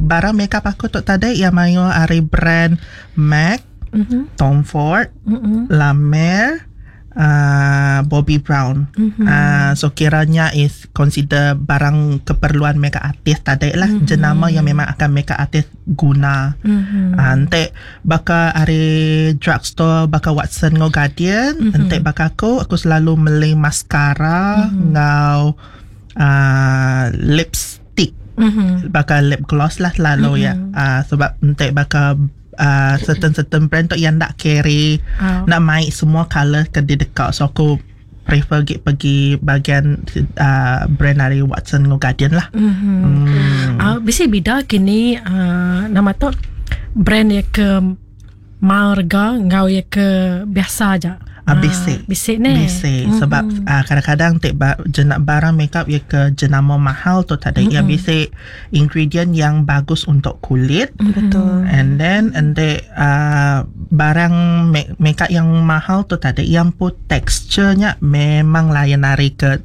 barang makeup aku tu tadi iya mayuh ari brand MAC, Tom Ford, La Mer, uh, Bobbi Brown. Uh, so kiranya is consider barang keperluan makeup artist tadi lah. Jenama yang memang akan makeup artist guna. Uh, enti baka ari drugstore baka Watson enggau Guardian, enti baka aku, aku selalu meli mascara enggau uh, lipstick. Baka lip gloss lah selalu ya. Sebab enti baka certain certain brand tu yang nak carry nak mai semua color ke dideka. So aku prefer gik pergi bahagian brand dari Watson enggau Guardian lah. Bisi bida kini nama tu brand iya ke mahal rega enggau iya ke biasa aja. Bisi. Bisi neh. Bisi sebab kadang-kadang ti jenak barang makeup iya ke jenama mahal tu tadi iya bisi ingredient yang bagus untuk kulit. And then enti barang makeup yang mahal tu tadi iya empu texture nya memang lain ari ke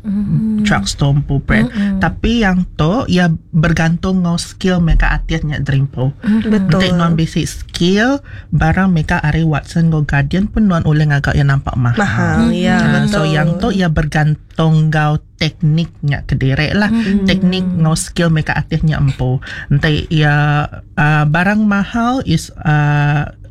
drugstore empu brand. Tapi yang tu iya bergantung enggau skill makeup artist nya diri empu. Enti nuan bisi skill barang makeup ari Watson enggau Guardian pun nuan ulih ngaga iya nampak mahal. Mahal, ya, So yang tu iya bergantung enggau teknik nya kediri lah. Teknik enggau skill makeup artist nya empu. Enti iya barang mahal is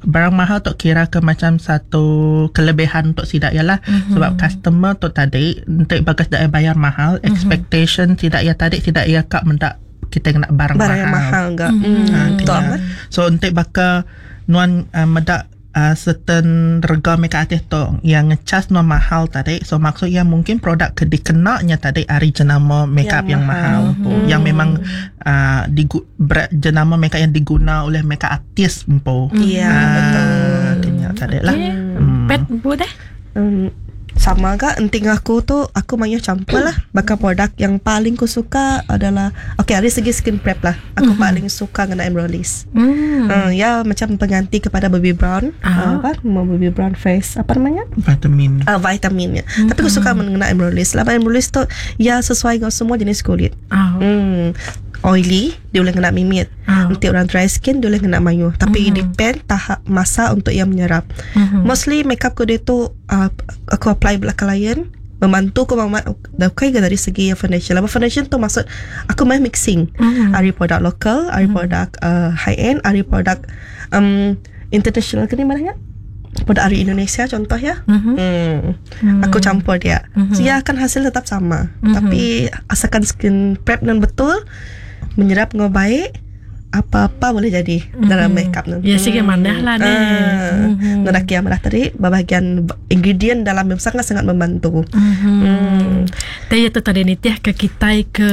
barang mahal tu kira ke macam satu kelebihan untuk sida iya lah. Sebab customer tu tadi enti bagas sida iya bayar mahal, expectation sida iya tadi sida iya ka meda kita kena barang, barang yang mahal. Mahal enggak. Betul kena. Amat. So enti baka nuan meda certain rega makeup artist tu yang ngecas nuan mahal tadi, so maksud yang mungkin produk ke dikenanya tadi ari jenama makeup yang, Yang mahal, mahal. Tu yang memang jenama makeup yang diguna oleh makeup artist empu. Ya, betul. Kena tadi lah. Okay. Pet empu deh. Sama gak enting aku tu aku mayuh campur lah. Bakal produk yang paling ku suka adalah, okay, dari segi skin prep lah aku paling suka ngena Embryolisse. Ya macam pengganti kepada Bobbi Brown. Apa mau Bobbi Brown face apa namanya? Vitamin. Vitaminnya. Tapi aku suka mengena Embryolisse. Lah Embryolisse tu ya sesuai dengan semua jenis kulit. Oily dia boleh kena mimit. Nanti orang dry skin dia boleh kena mayu. Tapi depend tahap masa untuk ia menyerap. Mostly makeup ku dia tu aku apply belakang klien membantu aku mamat dah okay ke dari segi foundation. Lama foundation tu maksud aku main mixing. Ari produk lokal, ari produk high end, ari produk international ke ni mana produk dari Indonesia contoh ya. Aku campur dia. So, ya akan hasil tetap sama. Tapi asalkan skin prep dan betul menyerap dengan baik, apa-apa boleh jadi dalam makeup nanti. Ya sih mana lah ni. Ah, mm yang malah tadi bahagian ingredient dalam yang sangat-sangat membantu. Tapi itu tadi ni tiah ke kita ke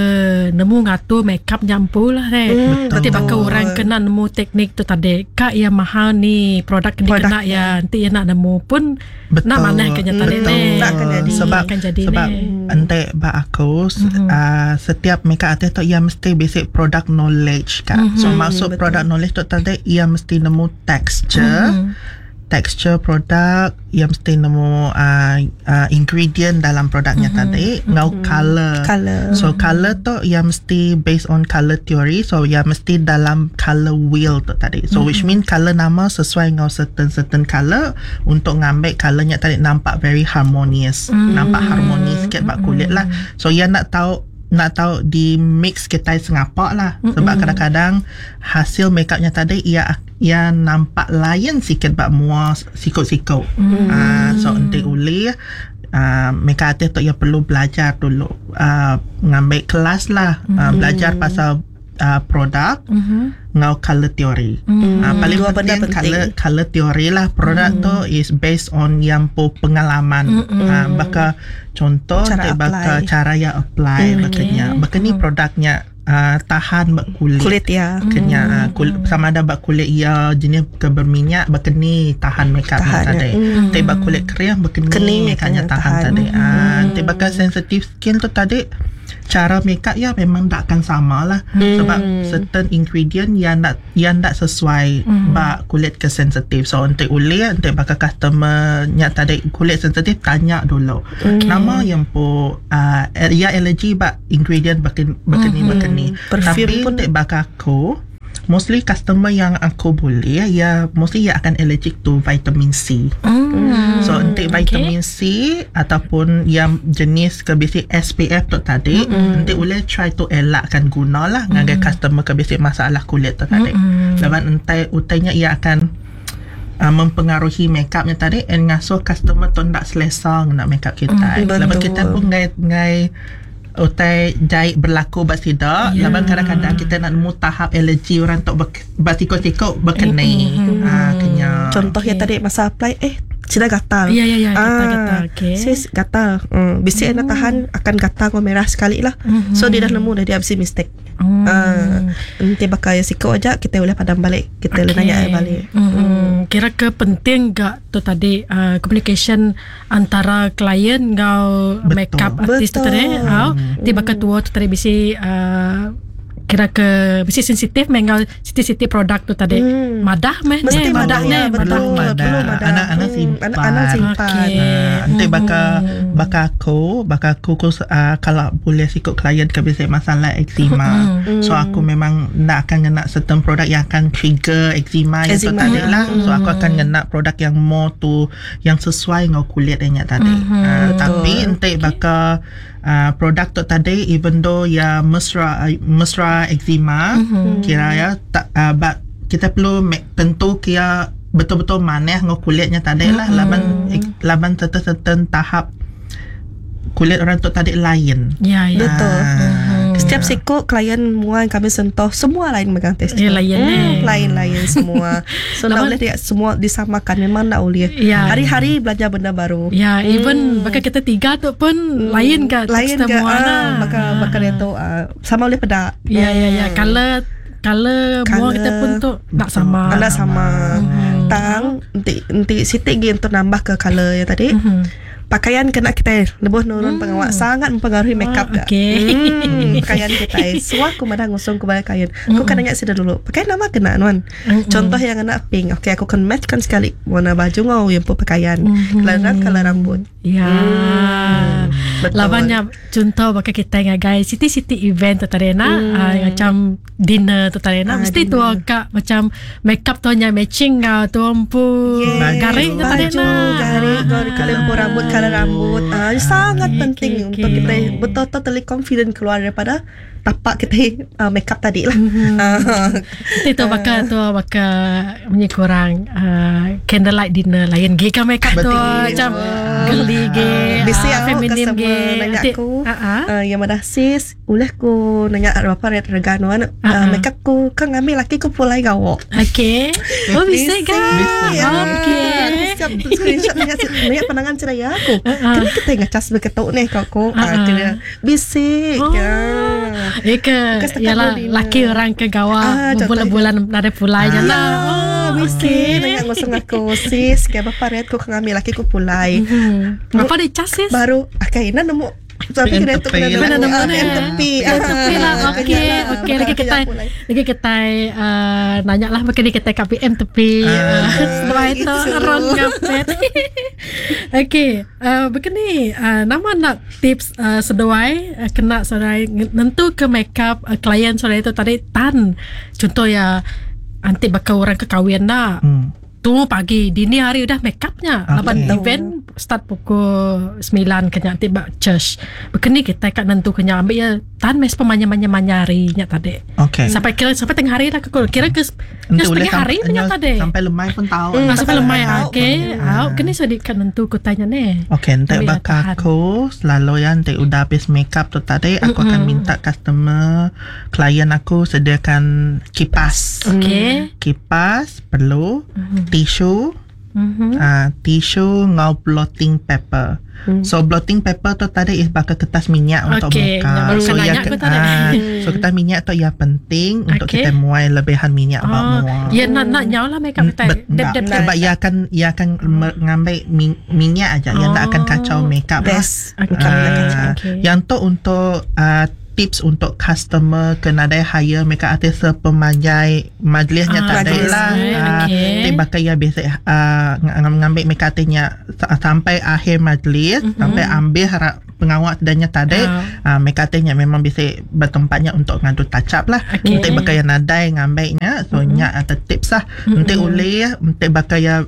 nemu ngatur makeup nyampu lah deh. Nanti bakal orang kena nemu teknik tu tadi. Kak yang mahal ni produk ni Produk kena ya nanti yang nak nemu pun nak mana kena tadi ni. Nak akan jadi. Sebab Akan jadi sebab ni. ente ba aku setiap makeup artist tu ia mesti basic product knowledge kan. So maksud product knowledge tu tadi ia mesti nemu texture. Texture produk ia mesti nemu ingredient dalam produknya tadi ngau color. Color. So color tu ia mesti based on color theory. So ia mesti dalam color wheel tu tadi. So which mean color nama sesuai dengan certain certain color untuk ngambil colornya tadi nampak very harmonious. Nampak harmonis sikit bak kulit lah. So ia nak tahu di mix kita sengapak lah sebab kadang-kadang hasil makeupnya tadi ia ia nampak lain sikit bak mua sikut-sikut. So enti uli makeup artist tu ia perlu belajar dulu, ngambil kelas lah, belajar pasal produk ngau color theory. Paling Dua benda penting, penting. color color theory lah. Produk tu is based on yang pu pengalaman. Baka contoh Cara cara baka apply. cara yang apply bakanya. Baka ni produknya tahan bak kulit. Kulit ya. Kenya kulit, sama ada bak kulit ia jenis ke berminyak berkeni tahan makeup Tahan, tadi. Tapi bak kulit kering berkeni Keni makeupnya makeupnya tahan, tahan. tadi. Ah, tapi bakal sensitive skin tu tadi cara makeup ya memang tak akan sama lah sebab certain ingredient yang tak sesuai bak kulit ke sensitif. So untuk uli untuk bakal customer nya tadi kulit sensitif, tanya dulu nama yang pu ya allergy bak ingredient berkeni berkeni. Perfume Tapi pun- untuk bakal aku Mostly customer yang aku boleh ya mostly ia akan allergic to vitamin C. So enti vitamin C ataupun yang jenis ke bisi SPF tu tadi enti ulih try to elakkan guna lah ngagai customer ke bisi masalah kulit tu tadi. Laban entai utai nya ia akan mempengaruhi makeup nya tadi and ngasuh customer tu enda selesa ngena makeup kitai. Laban kitai pun enggai enggai utai jai berlaku ba sida laban kadang-kadang kitai enda nemu tahap alergi orang tu ba siko-siko bekeni. Aaa kenya. Contoh iya tadi masa apply eh sida gatal. Ya ya ya gatal gatal okey. Sis gatal. Bisi enda tahan akan gatal enggau merah sekali lah. So dia dah nemu dah dia bisi mistake. Aaa enti baka iya siko aja kitai ulih padam balik kitai ulih nanya iya balik. Kira ke penting ga tu tadi communication antara klien enggau makeup artist tu tadi au ti baka tua tu tadi bisi uhh kira ke bisi sensitif meh enggau siti-siti produk tu tadi madah meh mesti madah neh madah madah anak anak simpan anak simpan enti baka baka aku baka aku ku kala bulih siku klien ke bisi masalah eczema so aku memang enda akan ngena certain produk yang akan trigger eczema tu tadi lah so aku akan ngena produk yang more to yang sesuai enggau kulit iya nya tadi. Mm-hmm. Uh, tapi enti okay. baka uh, produk tu tadi even though ya mesra mesra eczema mm-hmm. kira ya tak uh, but kita perlu make, tentu kira betul-betul manah enggau kulitnya tadi lah mm-hmm. laban laban certain-certain tahap kulit orang tu tadi lain. Ya, ya. Betul. Ah, Setiap siku klien mua yang kami sentuh semua lain megang test. Ya, lain eh. Lain-lain semua. So nak boleh dia semua disamakan memang nak boleh. Ya. Hari-hari belajar benda baru. Ya, even baka kita tiga tu pun lain ke Lain ke semua ah, lah. baka baka dia tu ah, sama boleh pedak. Ya, ya, ya. Color color mua kita pun tu nak sama. Anak sama. Tang enti enti siti gi untuk nambah ke color yang tadi. Pakaian kena kita lebuh nurun pengawak sangat mempengaruhi makeup Oh, okey. Pakaian kita. Suah aku madah ngusung ku bala kain. Aku kan nanya sida dulu. Pakaian nama kena nuan. Contoh yang kena pink. Okey aku kan match kan sekali warna baju ngau yang pun pakaian. Color color rambut. Ya. Betul. Labannya contoh baka kita ngagai city-city event tu tadi nak macam dinner tu tadi nak mesti tu kak macam makeup tu nya matching ngau tu empu Yes. garik tu tadi Baju, nak. garik, garik, tempur rambut, color rambut. Ah, sangat Okey, penting okey, untuk okey. kita betul-betul terlihat confident keluar daripada tapak kita makeup tadi lah. Ah. Nanti tu baka tu baka punya kurang candlelight dinner lain ge ka makeup tu macam geli ge Bisi ah, aku feminin customer ge nanya Nanti, aku ah, ah. yang madah sis ulah ku nanya berapa rate rega nuan makeup ku kan ngambil laki ku pulai gawo. Okey. Oh bisa Bisi. ke? Ya. Okey. Aku siap screenshot nanya nanya pandangan cerai aku. Kena kita ngecas begitu nih kau ku. Ah, ah. Kena bisi. Oh. Ya. Eh ke Bukan setakat Yalah dinner. laki orang ke gawa Ah, Berbulan-bulan Ada pulai je lah Ah, bisi nanya ngusung aku sis kayak bapak rate ku kan ngambil laki ku pulai. Berapa dia cas sis? Baru akai ina nemu tapi PM kena tu tepi kena lah. Kena nemu nemu ah, ni. PM tepi. PM tepi lah. Ah, Okey, kena lah. okey. Lagi Bakal kita pulai. lagi kita nanya lah makin kita kat PM tepi. Ah. Setelah itu Gitu. ron ngapet. Okey, begini nama nak tips seduai kena seduai nentu ke makeup klien seduai itu tadi tan. Contoh ya anti bakal orang ke kahwin dah. Tunggu pagi dini hari udah make upnya. Okey. Laban event start pukul 9 kena nanti bak church. Begini kita kat nentu kena ambil ya tan mes pemanya-manya hari nya tadi. Okey. Sampai kira sampai tengah hari lah kekul. Kira ke Nanti ya, boleh setengah hari punya tadi. Sampai lemai pun tahu. Ah, sampai lemai tahu. okey. Au kini so di kat nentu ku tanya ni. Okey, nanti Ambil bakal tahan. aku selalu ya nanti udah habis makeup tu tadi aku akan minta customer klien aku sediakan kipas. Okey. Kipas perlu, tisu, Mhm. tisu ngau blotting paper. So blotting paper tu tadi is bakal kertas minyak untuk Okey, muka. yang baru So kena ia nanya aku tadi. so kertas minyak tu ia penting untuk Okey. kita muai lebihan minyak oh, Oh, muka. ya nak nak nyawa lah makeup kita. Bet, Dep tak, dep dep. sebab ia akan ia akan mengambil minyak aja, ia tak akan kacau makeup lah. Best. Okey. Ah, Okey. Yang tu untuk tips untuk customer ke nadai hire makeup artist sepemanjai majlisnya tadi Majlis, lah. Ti baka ia biasa ngambil makeup artistnya sampai akhir majlis, sampai ambil pengawal sedanya tadi, makeup artistnya memang bisa bertempatnya untuk ngadu touch up lah. Nanti baka yang nadai ngambilnya, so nya atau tips lah. Nanti ulih, nanti baka yang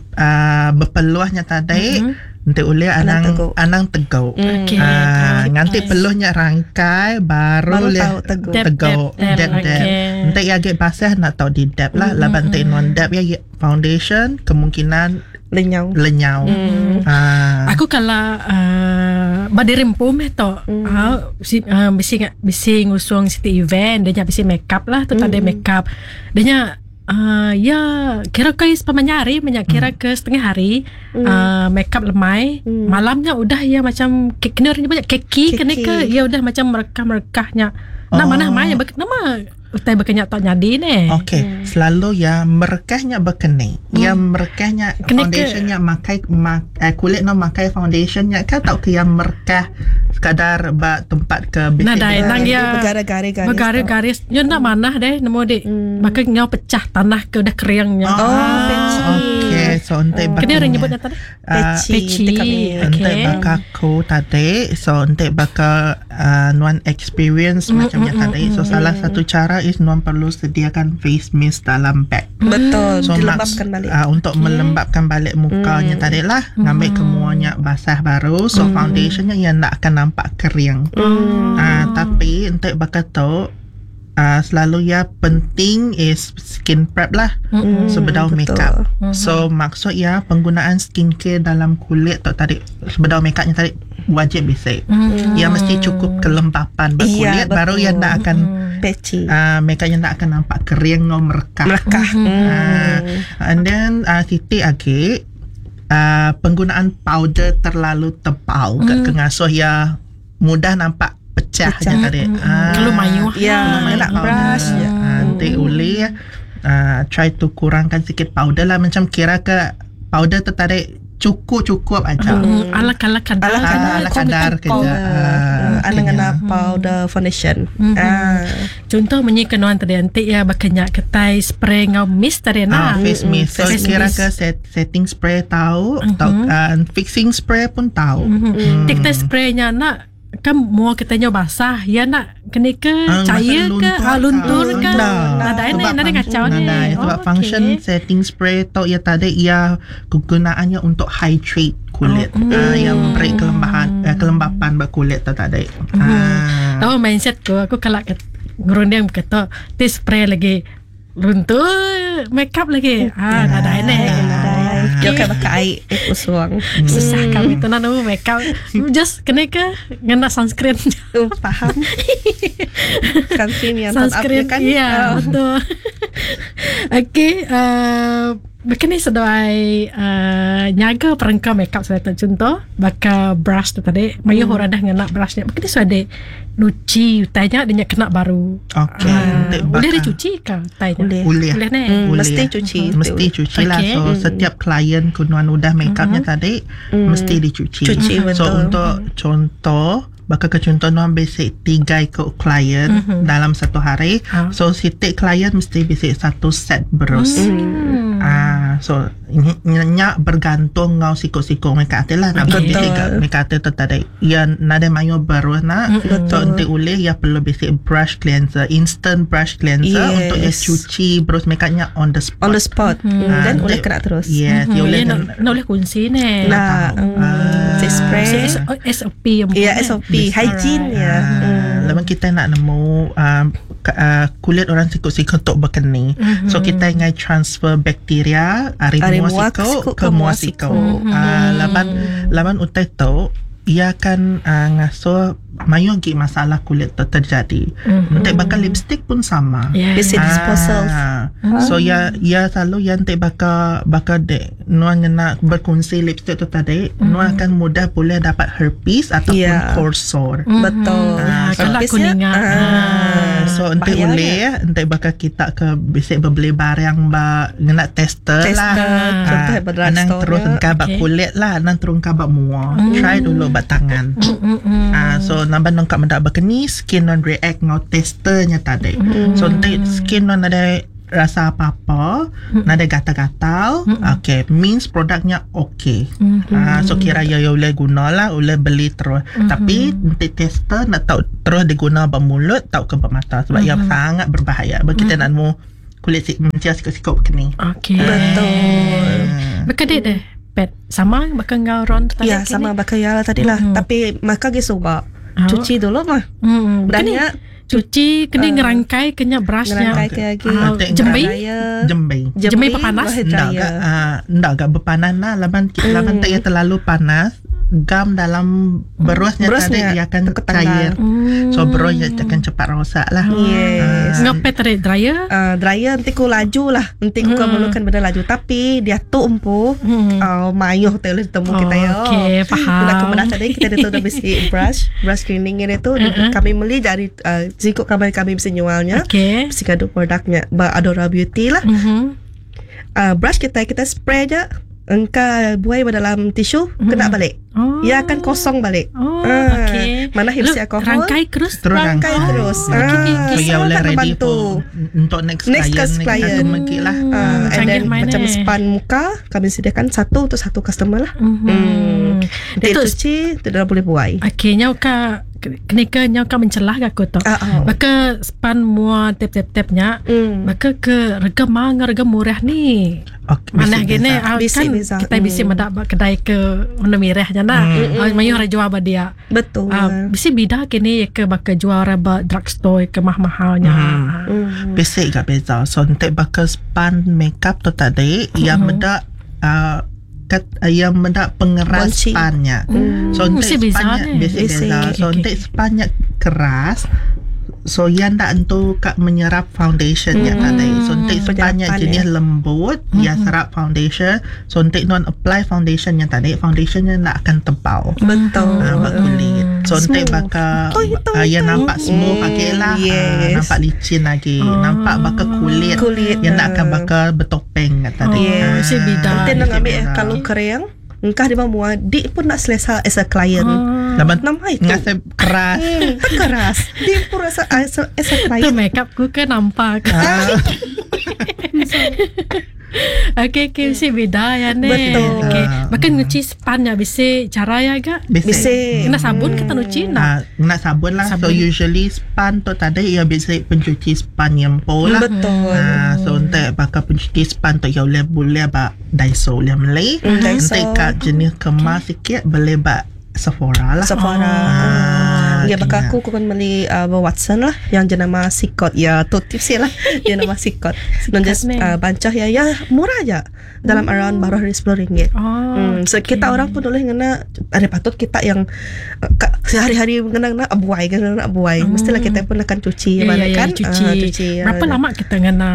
berpeluhnya tadi, nanti ulih Anang anang teguk. anang teguk. Nganti peluhnya rangkai baru Baru boleh tahu teguk. Dab, teguk. dab, dab. Dab, dab. Nanti yang agak basah nak tahu di dab lah. Laban nanti non dab ya foundation kemungkinan Lenyau. lenyau. Aku kalau berdiri empum eh tok. Si bisi bisi ngusung city event, dia nya bisi make up lah, tu tak ada make up. Dia nya ya kira ke sepanjang hari, banyak kira ke setengah hari make up lemai. Malamnya udah ya macam kena orang banyak keki kena ke ya udah macam merekah-merekahnya. Nah mana mana nama utai berkenyak tak nyadi ni. Okey, selalu ya merekahnya berkening. Ya merekahnya Kena ke- foundationnya makai kulit no makai foundationnya kan tak ke yang merekah sekadar ba tempat ke Nah, dah, nang dia Bergaris-garis. Bergaris-garis. Ya nak mana deh nemu dik. Maka ngau pecah tanah ke udah keringnya. Oh, peci. Okey, so ente Kena orang nyebut tadi? Peci. Peci. Dekat ni. Ente Okey. bakal ku tadi, so ente bakal nuan experience macamnya tadi. So salah satu cara is nuan perlu sediakan face mist dalam bag. Betul. So Dilembabkan balik. Untuk melembabkan balik mukanya tadi lah, ngambil kemuanya basah baru. So foundationnya yang nak akan nampak kering. Tapi untuk bakal tu selalu ya penting is skin prep lah sebelum makeup. So maksud ya penggunaan skincare dalam kulit tu tadi sebelum makeupnya tadi wajib bisik. Ya mesti cukup kelembapan berkulit Ya, baru betul. ya nak akan Peci. makeupnya nak akan nampak kering no merekah. Merekah. And then titik lagi penggunaan powder terlalu tebal ke kengasuh ya mudah nampak pecah, Pecah. je tadi. Kalau mayuh. Ya, Lumayan nak powder. brush je. Nanti boleh try to kurangkan sikit powder lah macam kira ke powder tu tarik cukup-cukup aja. Ala kala kadar. Ala kadar. Ala kadar kerja. Ala kena. ngena powder foundation. Contoh menyi kenuan tadi antik ya bakenyak ketai spray ngau mist tadi nah. Face mist. So Face kira mist. ke setting spray tahu, atau fixing spray pun tahu. Tik kita spraynya nak kan mua kitanya basah ya nak kena ke cair macam ke luntur ke Nah, nadai ni nadai kacau ni Nadai sebab Oh, function okey. setting spray tu ya tadi ia kegunaannya untuk hydrate kulit. Yang beri kelembapan berkulit tu tadi. Tahu mindset ku aku kalau ngerunding kata ti spray lagi luntur make up lagi nadai ni Nadai. Dia kayak pakai air usuang. susah kami tu nak make up just kena ke ngena sunscreen Faham. Sunscreen yang top up sunscreen ya kan? Ya, betul. Okey, begini seduai nyaga perengka makeup saya tak contoh baka brush tu tadi mayu orang dah ngena brushnya begini sudah nuci utainya dia kena baru. Okey, untuk Boleh bakar. dicuci ke utainya? Boleh. Boleh. Boleh ni. Boleh. Mesti cuci. Mesti cuci lah. Okey. So setiap klien kunuan udah makeupnya tadi mesti dicuci. Cuci, So betul. untuk contoh bakal ke contoh nuan basic 3 ikut klien dalam satu hari. So setiap klien mesti basic satu set berus. So nyak bergantung ngau sikut-sikut mereka ati lah. Nak Betul. basic mereka ati tu tadi. Ya nada mayo berus nak. So nanti ulih ya perlu basic brush cleanser, instant brush cleanser Yes. untuk ya cuci berus makeupnya on the spot. On the spot. Dan boleh Nanti- kena terus. Yes, ya boleh Ya, kena. nak boleh kunci ni. Nah, si spray. So, SOP yang Ya, SOP. Hygiene ya. Lepas kita nak nemu kulit orang sikut-sikut untuk berkeni. So kita ingin transfer bakteria ari Ari mua mua sikut sikut ke mua sikut. Laban laban utai tu ia akan ngasuh mayu lagi masalah kulit tu terjadi. Nanti bakal lipstick pun sama. Yeah. Basic disposal. So ya ya selalu ya enti baka baka dek nuan ngena berkongsi lipstick tu tadi nuan akan mudah boleh dapat herpes ataupun Ya. cold sore. Betul. Ya, kalau aku Herpesnya, ninga. ah, So enti bahaya boleh enti baka kita ke bisi beli barang ba ngena tester, lah. Tester, contoh ba Anang drugstore terus nya. engkau bak Okay. kulit lah, anang terus engkau bak mua. Try dulu bak tangan. Ah, so nambah nongkap mendak berkeni skin non react ngau testernya tadi. So enti skin non ada rasa apa-apa, nada gatal-gatal, okay, means produknya okay. Ah, so kira ya ya boleh guna lah, boleh beli terus. Tapi enti tester nak tahu terus diguna bak mulut tau ke bak mata sebab ia sangat berbahaya. Bagi kita nak mu kulit si mencia sikut-sikut begini. Okey. Betul. Baka dek deh. Pet sama baka ngau Ron tu tadi Ya, kini? sama baka ya lah tadi lah. Tapi maka ge suba. Ah. Cuci dulu mah. Baka Dan ni ya cuci kena ngerangkai kena brushnya. ngerangkai ke lagi. Ah, Nanti jembi. Dryer. Jembi. Jembi panas? hair Ndak dryer. agak ah, ndak agak berpanas lah laban laban tak ia terlalu panas gam dalam berusnya, Berusnya tadi ia akan terketanggal. cair. So berusnya akan cepat rosak lah. Yes. Ngepet tadi dryer. Dryer nanti ku laju lah. Nanti ku memerlukan benda laju. Tapi dia tu empu mayuh tu boleh temu kita ya. Okey, faham. Kita kemudian tadi kita ada tu dah bisi brush, brush cleaning ini tu kami beli dari jikuk kami kami bisa jualnya. Okey. Bisi kado produknya ba Adora Beauty lah. Brush kita kita spray je engkau buai dalam tisu kena balik. Oh. Ia akan kosong balik. Oh, Ah, okey. Mana Lalu, hipsi alkohol? Rangkai terus. Terus Rangkai rangkai. terus. Okay, okay, Ah, So ia sangat boleh ready membantu. for untuk next, Next client, client. satu lagi lah. Ah, and Canggih then main macam eh. span muka kami sediakan satu untuk satu customer lah. Hmm. Dia Itu cuci, tu dah boleh buai. Okey, nyau ka kenika nyau ka mencelah ke aku tu. Ah, ah. Maka span mua tap-tap-tapnya. Maka ke rega mahal dengan rega murah ni. Okay, Mana bisi gini beza. ah, Bisi kan beza. kita bisi medak ba kedai ke warna merah je nak. Ah, mayuh orang jual ba dia. Betul. Ah, bisi bida kini ke baka jual orang ba drugstore ke mahal-mahalnya. Ah. Basic gak beza. So untuk bakal span makeup tu tadi yang mendak kat, yang mendak pengeras Kunci. spannya. So untuk Mesti beza spannya ni. basic Basic. beza. So Okay, untuk spannya keras So yang tak entu kat menyerap foundationnya tadi. So untuk spannya Penyerapan, jenis ya. lembut, ya serap foundation. So untuk non apply foundationnya tadi, foundationnya nak akan tebal. Betul. Ah, bak kulit. So nanti Smooth. bakal Toi, toi, ah, yang toi. nampak smooth lagi lah. Ah, Yes. nampak licin lagi. Nampak bakal kulit. Kulit, Yang nak akan ah. bakal bertopeng kat tadi. Oh, Ah, mesti bida. Nanti nak ambil beza. kalau kering, engkau dia mua, dik pun nak selesa as a client. Laban Nama itu. Ngasa keras. Tak keras. Dia pun rasa as a, as a Tu client. makeup ku ke nampak. Okey, okey, mesti beda ya ni. Betul. Okey. Bahkan nyuci span ya bisi cara ya gak? Bisi. Bisi. Kena sabun kita nyuci nak. Ah, nak sabun lah. So Sabun. usually span tu tadi ia biasa pencuci span yang po lah. Betul. Ah, so untuk bakal pencuci span tu ya boleh boleh bak Daiso boleh beli. Daiso. Untuk kat jenis kemas sikit boleh bak Sephora lah. Sephora. Ah, Ya, bakal kena. aku aku kan beli Watson lah yang jenama Sikot. Ya, tu tips lah. Dia nama Sikot. Dan just ni. bancah ya, ya murah aja. Dalam around baru hari RM10. Oh, So kita orang pun boleh ngena ada patut kita yang sehari-hari ngena ngena buai ngena ngena buai. Mestilah kita pun akan cuci Ya, ya, balik ya, kan. cuci. Ah, cuci. ya. Berapa lama kita ngena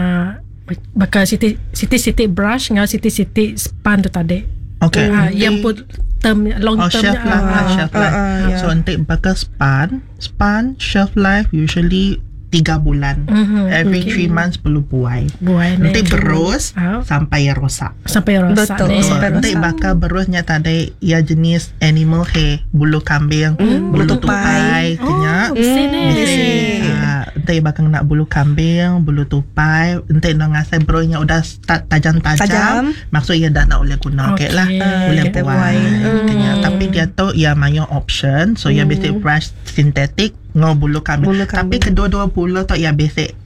bakal siti siti siti brush dengan siti siti span tu tadi? Okay. Ah, yang pun term long Oh, term shelf life lah, shelf life. ah, ya. So, untuk bakal span, span shelf life usually 3 bulan. Every 3 months perlu buai. Buai ni. Nanti berus Ah. sampai rosak. Sampai rosak Betul, ni. sampai Nanti rosak. bakal berusnya tadi ia jenis animal hair, bulu kambing, bulu bulu tupai. tupai, kenyak. Oh, besi ni. Besi. Ah, nanti bakal nak bulu kambing, bulu tupai, nanti nak ngasai berusnya udah start tajam-tajam. Tajam. Maksudnya dah nak boleh guna Okey. okay. lah. Boleh Kita buai. buai. Kenya. Tapi dia tu ia banyak option. So ia basic brush sintetik ngau bulu kambing. Bulu Tapi kambing. kedua-dua bulu tu ia basic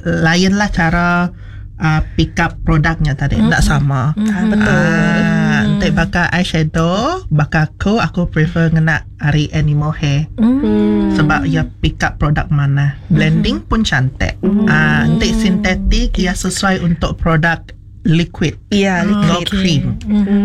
lain lah cara pick up produknya tadi. Tak sama. Ah, betul. Ah, untuk bakal eyeshadow, bakal aku aku prefer ngena hari animal hair. Sebab ia pick up produk mana. Blending pun cantik. Ah, untuk sintetik ia sesuai untuk produk liquid. Ya, Ngau liquid. cream.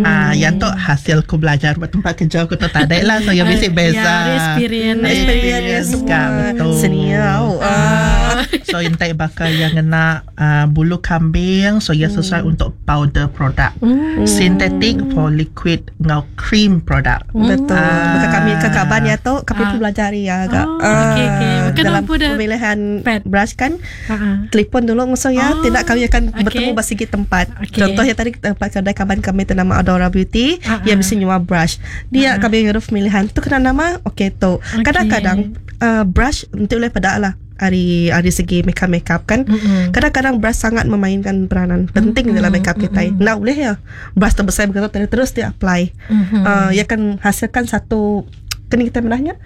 Ah, yang tu hasil ku belajar ba tempat kerja ku tu tadi lah. So yang bisi beza. Ya, ari experience. Experience dia semua. Kan, betul. Senior. Ah. So intai bakal yang ngena bulu kambing so ia sesuai untuk powder product. Synthetic for liquid ngau cream product. Betul. Ah. Bukan kami ke kaban ya tu, kami pun belajar ya agak. Oh, okey, okey. Bukan dalam nampu dah pemilihan pad. brush kan. Ah, ah. Telefon dulu ngusung ya, Oh, tidak kami akan okey. bertemu bersegi tempat. Okey. Contohnya tadi tempat kedai kaban kami ternama Adora Beauty, Ah, yang ah. mesti nyua brush. Dia kami nyuruh pemilihan tu kena nama okey tu. Okey. Kadang-kadang brush untuk boleh pada lah hari hari segi makeup makeup kan. Mm-mm. Kadang-kadang brush sangat memainkan peranan penting dalam makeup kita. Nak boleh ya. Brush terbesar begitu terus, terus dia apply. Mhm. Ia akan hasilkan satu kena kita menahnya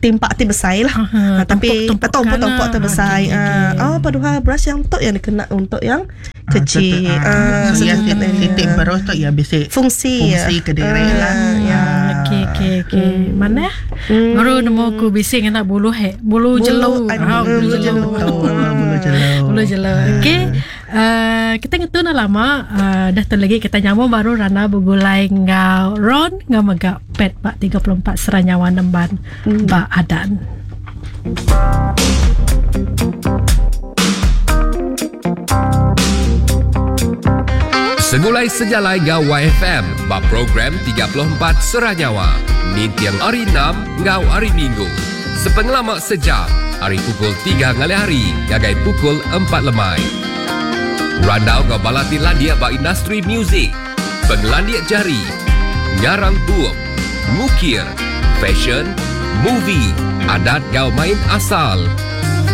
timpak ti besar lah. Aha, Ah, tapi tumpuk-tumpukan tumpuk-tumpuk lah. tu besar. Okey, okey. Ah, oh, padahal brush yang tu yang dikena untuk yang kecil. Ah, Ah, so, ya, sedikit titik ya. berus tu ya bisi Fungsi fungsi ya. ke diri Ah, lah. ya. Okey okey okey. Mana? Baru nemu aku bising nak bulu he, bulu, Bulu, jelu. aduh, Ah, bulu jelu. Betul, bulu jelu. Bulu jelu. Okey. Kita ngetu nak lama dah tu lagi kita nyambung baru Rana bergulai ngau Ron ngau mega pet bak 34 Seranyawa Nemban bak Adan. Segulai sejalai ngau YFM bab program 34 Seranyawa. Nintiang hari 6 ngau hari Minggu. Sepengelama sejam, hari pukul 3 ngalih hari, gagai pukul 4 lemai. Randau ngau balati landia ba industri muzik. Pengelandia jari, ngarang bup, ngukir, fashion, movie, adat ngau main asal.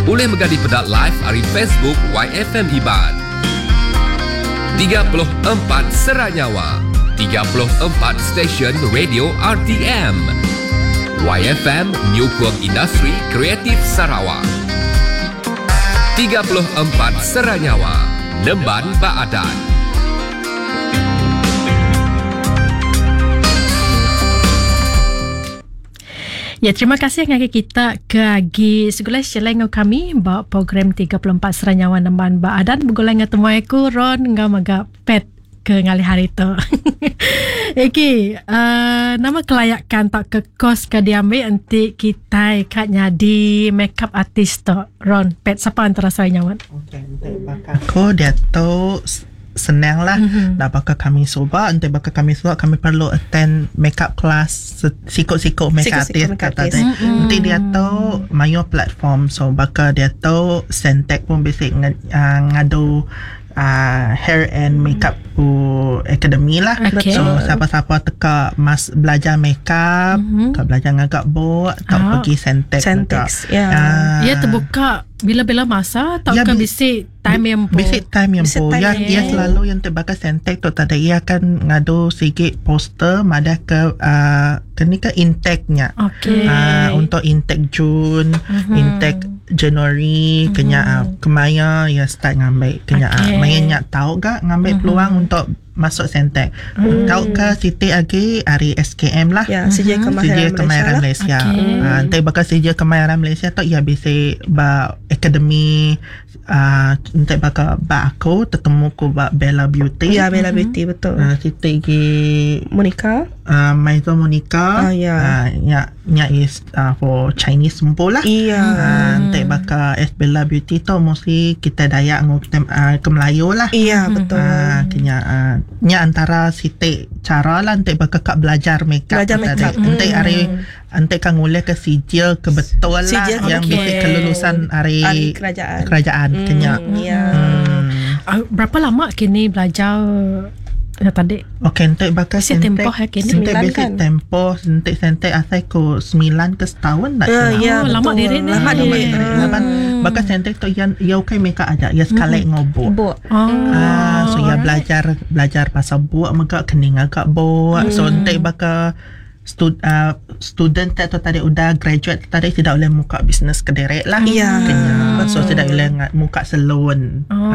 Boleh megadi pedak live hari Facebook YFM Iban. 34 Seranyawa 34 Stesen Radio RTM YFM Nyukung Industri Kreatif Sarawak 34 Seranyawa Nemban Baadan Ya, terima kasih ngagai kita ke agi segulai sejalai ngau kami ba program 34 Seranyawa Nemban ba Adan begulai ngau temuai aku Ron ngau mega pet ke ngalih hari tu. Okey, nama kelayakan tak ke kos ke diambil nanti kita kat nyadi makeup artist tu. Ron, pet siapa antara saya nyawan? Okey, untuk bakal aku dia tu senang lah. Nak bakal kami soba, untuk bakal kami soba kami perlu attend makeup class sikut-sikut makeup Sikut-sikut artist makeup kata artist. dia. Nanti dia tu mayo platform so bakal dia tu Sentek pun basic ngadu hair and makeup pu academy lah. Okey. So siapa-siapa teka mas belajar makeup, mm-hmm. ka belajar ngagak bok, tak Ah. pergi Sentek. Sentex, ya. Ah. Ia terbuka bila-bila masa tak Ya, ke bisi time yang po. Basic time yang Basic po. time Ya, yang ya po. selalu yang terbakar sentek tu tadi ia akan ngadu sikit poster madah ke ke ni ke intake-nya. Okey. Untuk intake Jun, intake Januari, kenya kemaya ya start ngambil kenya Okey. okay. maya nyak tahu gak ngambil peluang untuk masuk sentek. Tahu ke Siti lagi hari SKM lah. Ya, Sijil Kemahiran Sijil Malaysia Kemahiran lah. Malaysia. Okey. Nanti bakal Sijil Kemahiran Malaysia tu ya bisa ba akademi nanti bakal ba aku tertemu ku ba Bella Beauty. Ya, Bella Beauty betul. Siti gi Monica. Maizo Monica. Ah, ya. Nya nya is for Chinese sempu lah. Iya. Nanti bakal S Bella Beauty tu mostly kita Dayak ngau kita ke Melayu lah. Iya, betul. Kenya nya antara Siti cara lah nanti bakal kak belajar makeup Belajar tu tadi. makeup. Nanti hari nanti kan ngulih ke sijil ke betul lah Sijil yang okey. basic kelulusan hari, Hari kerajaan. kerajaan kenya. Ya. Berapa lama kini belajar ya, tadi? Okey, nanti bakal Basic tempoh ya kini? Nanti Sembilan basic kan? tempoh, nanti sentek asal ku 9 ke setahun nak Ya, kena. ya, Oh, lama betul. diri ni. Lama Lama diri. diri. Laban bakal sentek tu yang ya okey makeup aja, ya sekali ngobok. Buk. Oh. So ya belajar belajar pasal buat mega kening agak buat. So nanti bakal student atau tadi udah graduate tadi tidak boleh muka bisnes kederek lah. Ya. Kenya. So tidak boleh muka salon. Oh,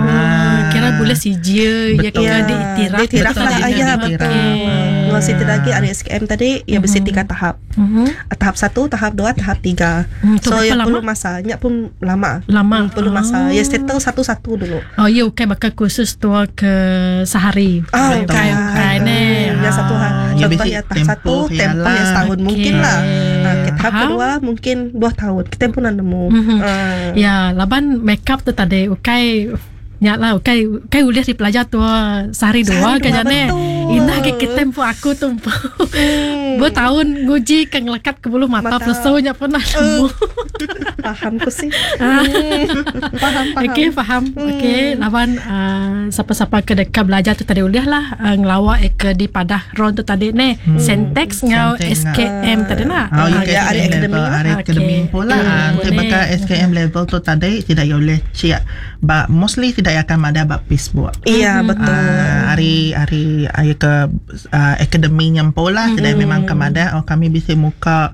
kira boleh sijil ya Betul. kira diiktiraf. Diiktiraf betul lah, dia ya, diiktiraf. betul. Ngau siti lagi ari SKM tadi ia bisi tiga tahap. Tahap satu, tahap dua, tahap tiga. Tu So berapa ia lama? perlu masa. Nya pun lama. Lama. Perlu masa. Ia settle satu-satu dulu. Oh, ya ukai bakal kursus tua ke sehari. Ah, ukai ukai ne. Ya satu hari. Ya, Contoh bisi ya tahap satu, tempoh ya tempoh ya lah. setahun mungkin Okey. lah. Ah, ke tahap Faham. kedua mungkin 2 tahun. Kita pun nak nemu. Ah. Ya, laban makeup tu tadi ukai nya lah ukai ukai ulih dipelajar tua sehari dua Sehari kan dua, jane. betul. Indah ke kita tempo aku tu. Bertahun nguji ke ngelekat ke bulu mata, Mata. pelesunya pun nak nemu. Faham ku sih. Faham, faham. Okey, faham. Okey, lawan siapa-siapa ke dekat belajar tu tadi ulih lah ngelawak eh, ke di Padah Ron tu tadi ni. Sentex ngau Sentex SKM tadi nak. Oh, Ah, ya, ya, ada SKM akademi level, lah. ada Okey. akademi pula. Hmm, Ah, Nanti boleh. bakal SKM level tu tadi tidak boleh cik. Ba, mostly tidak akan ada bab Facebook. Iya, betul. Ah, hari hari hari ke akademi nyempo lah mm-hmm. Tidak memang kemada oh kami bisa muka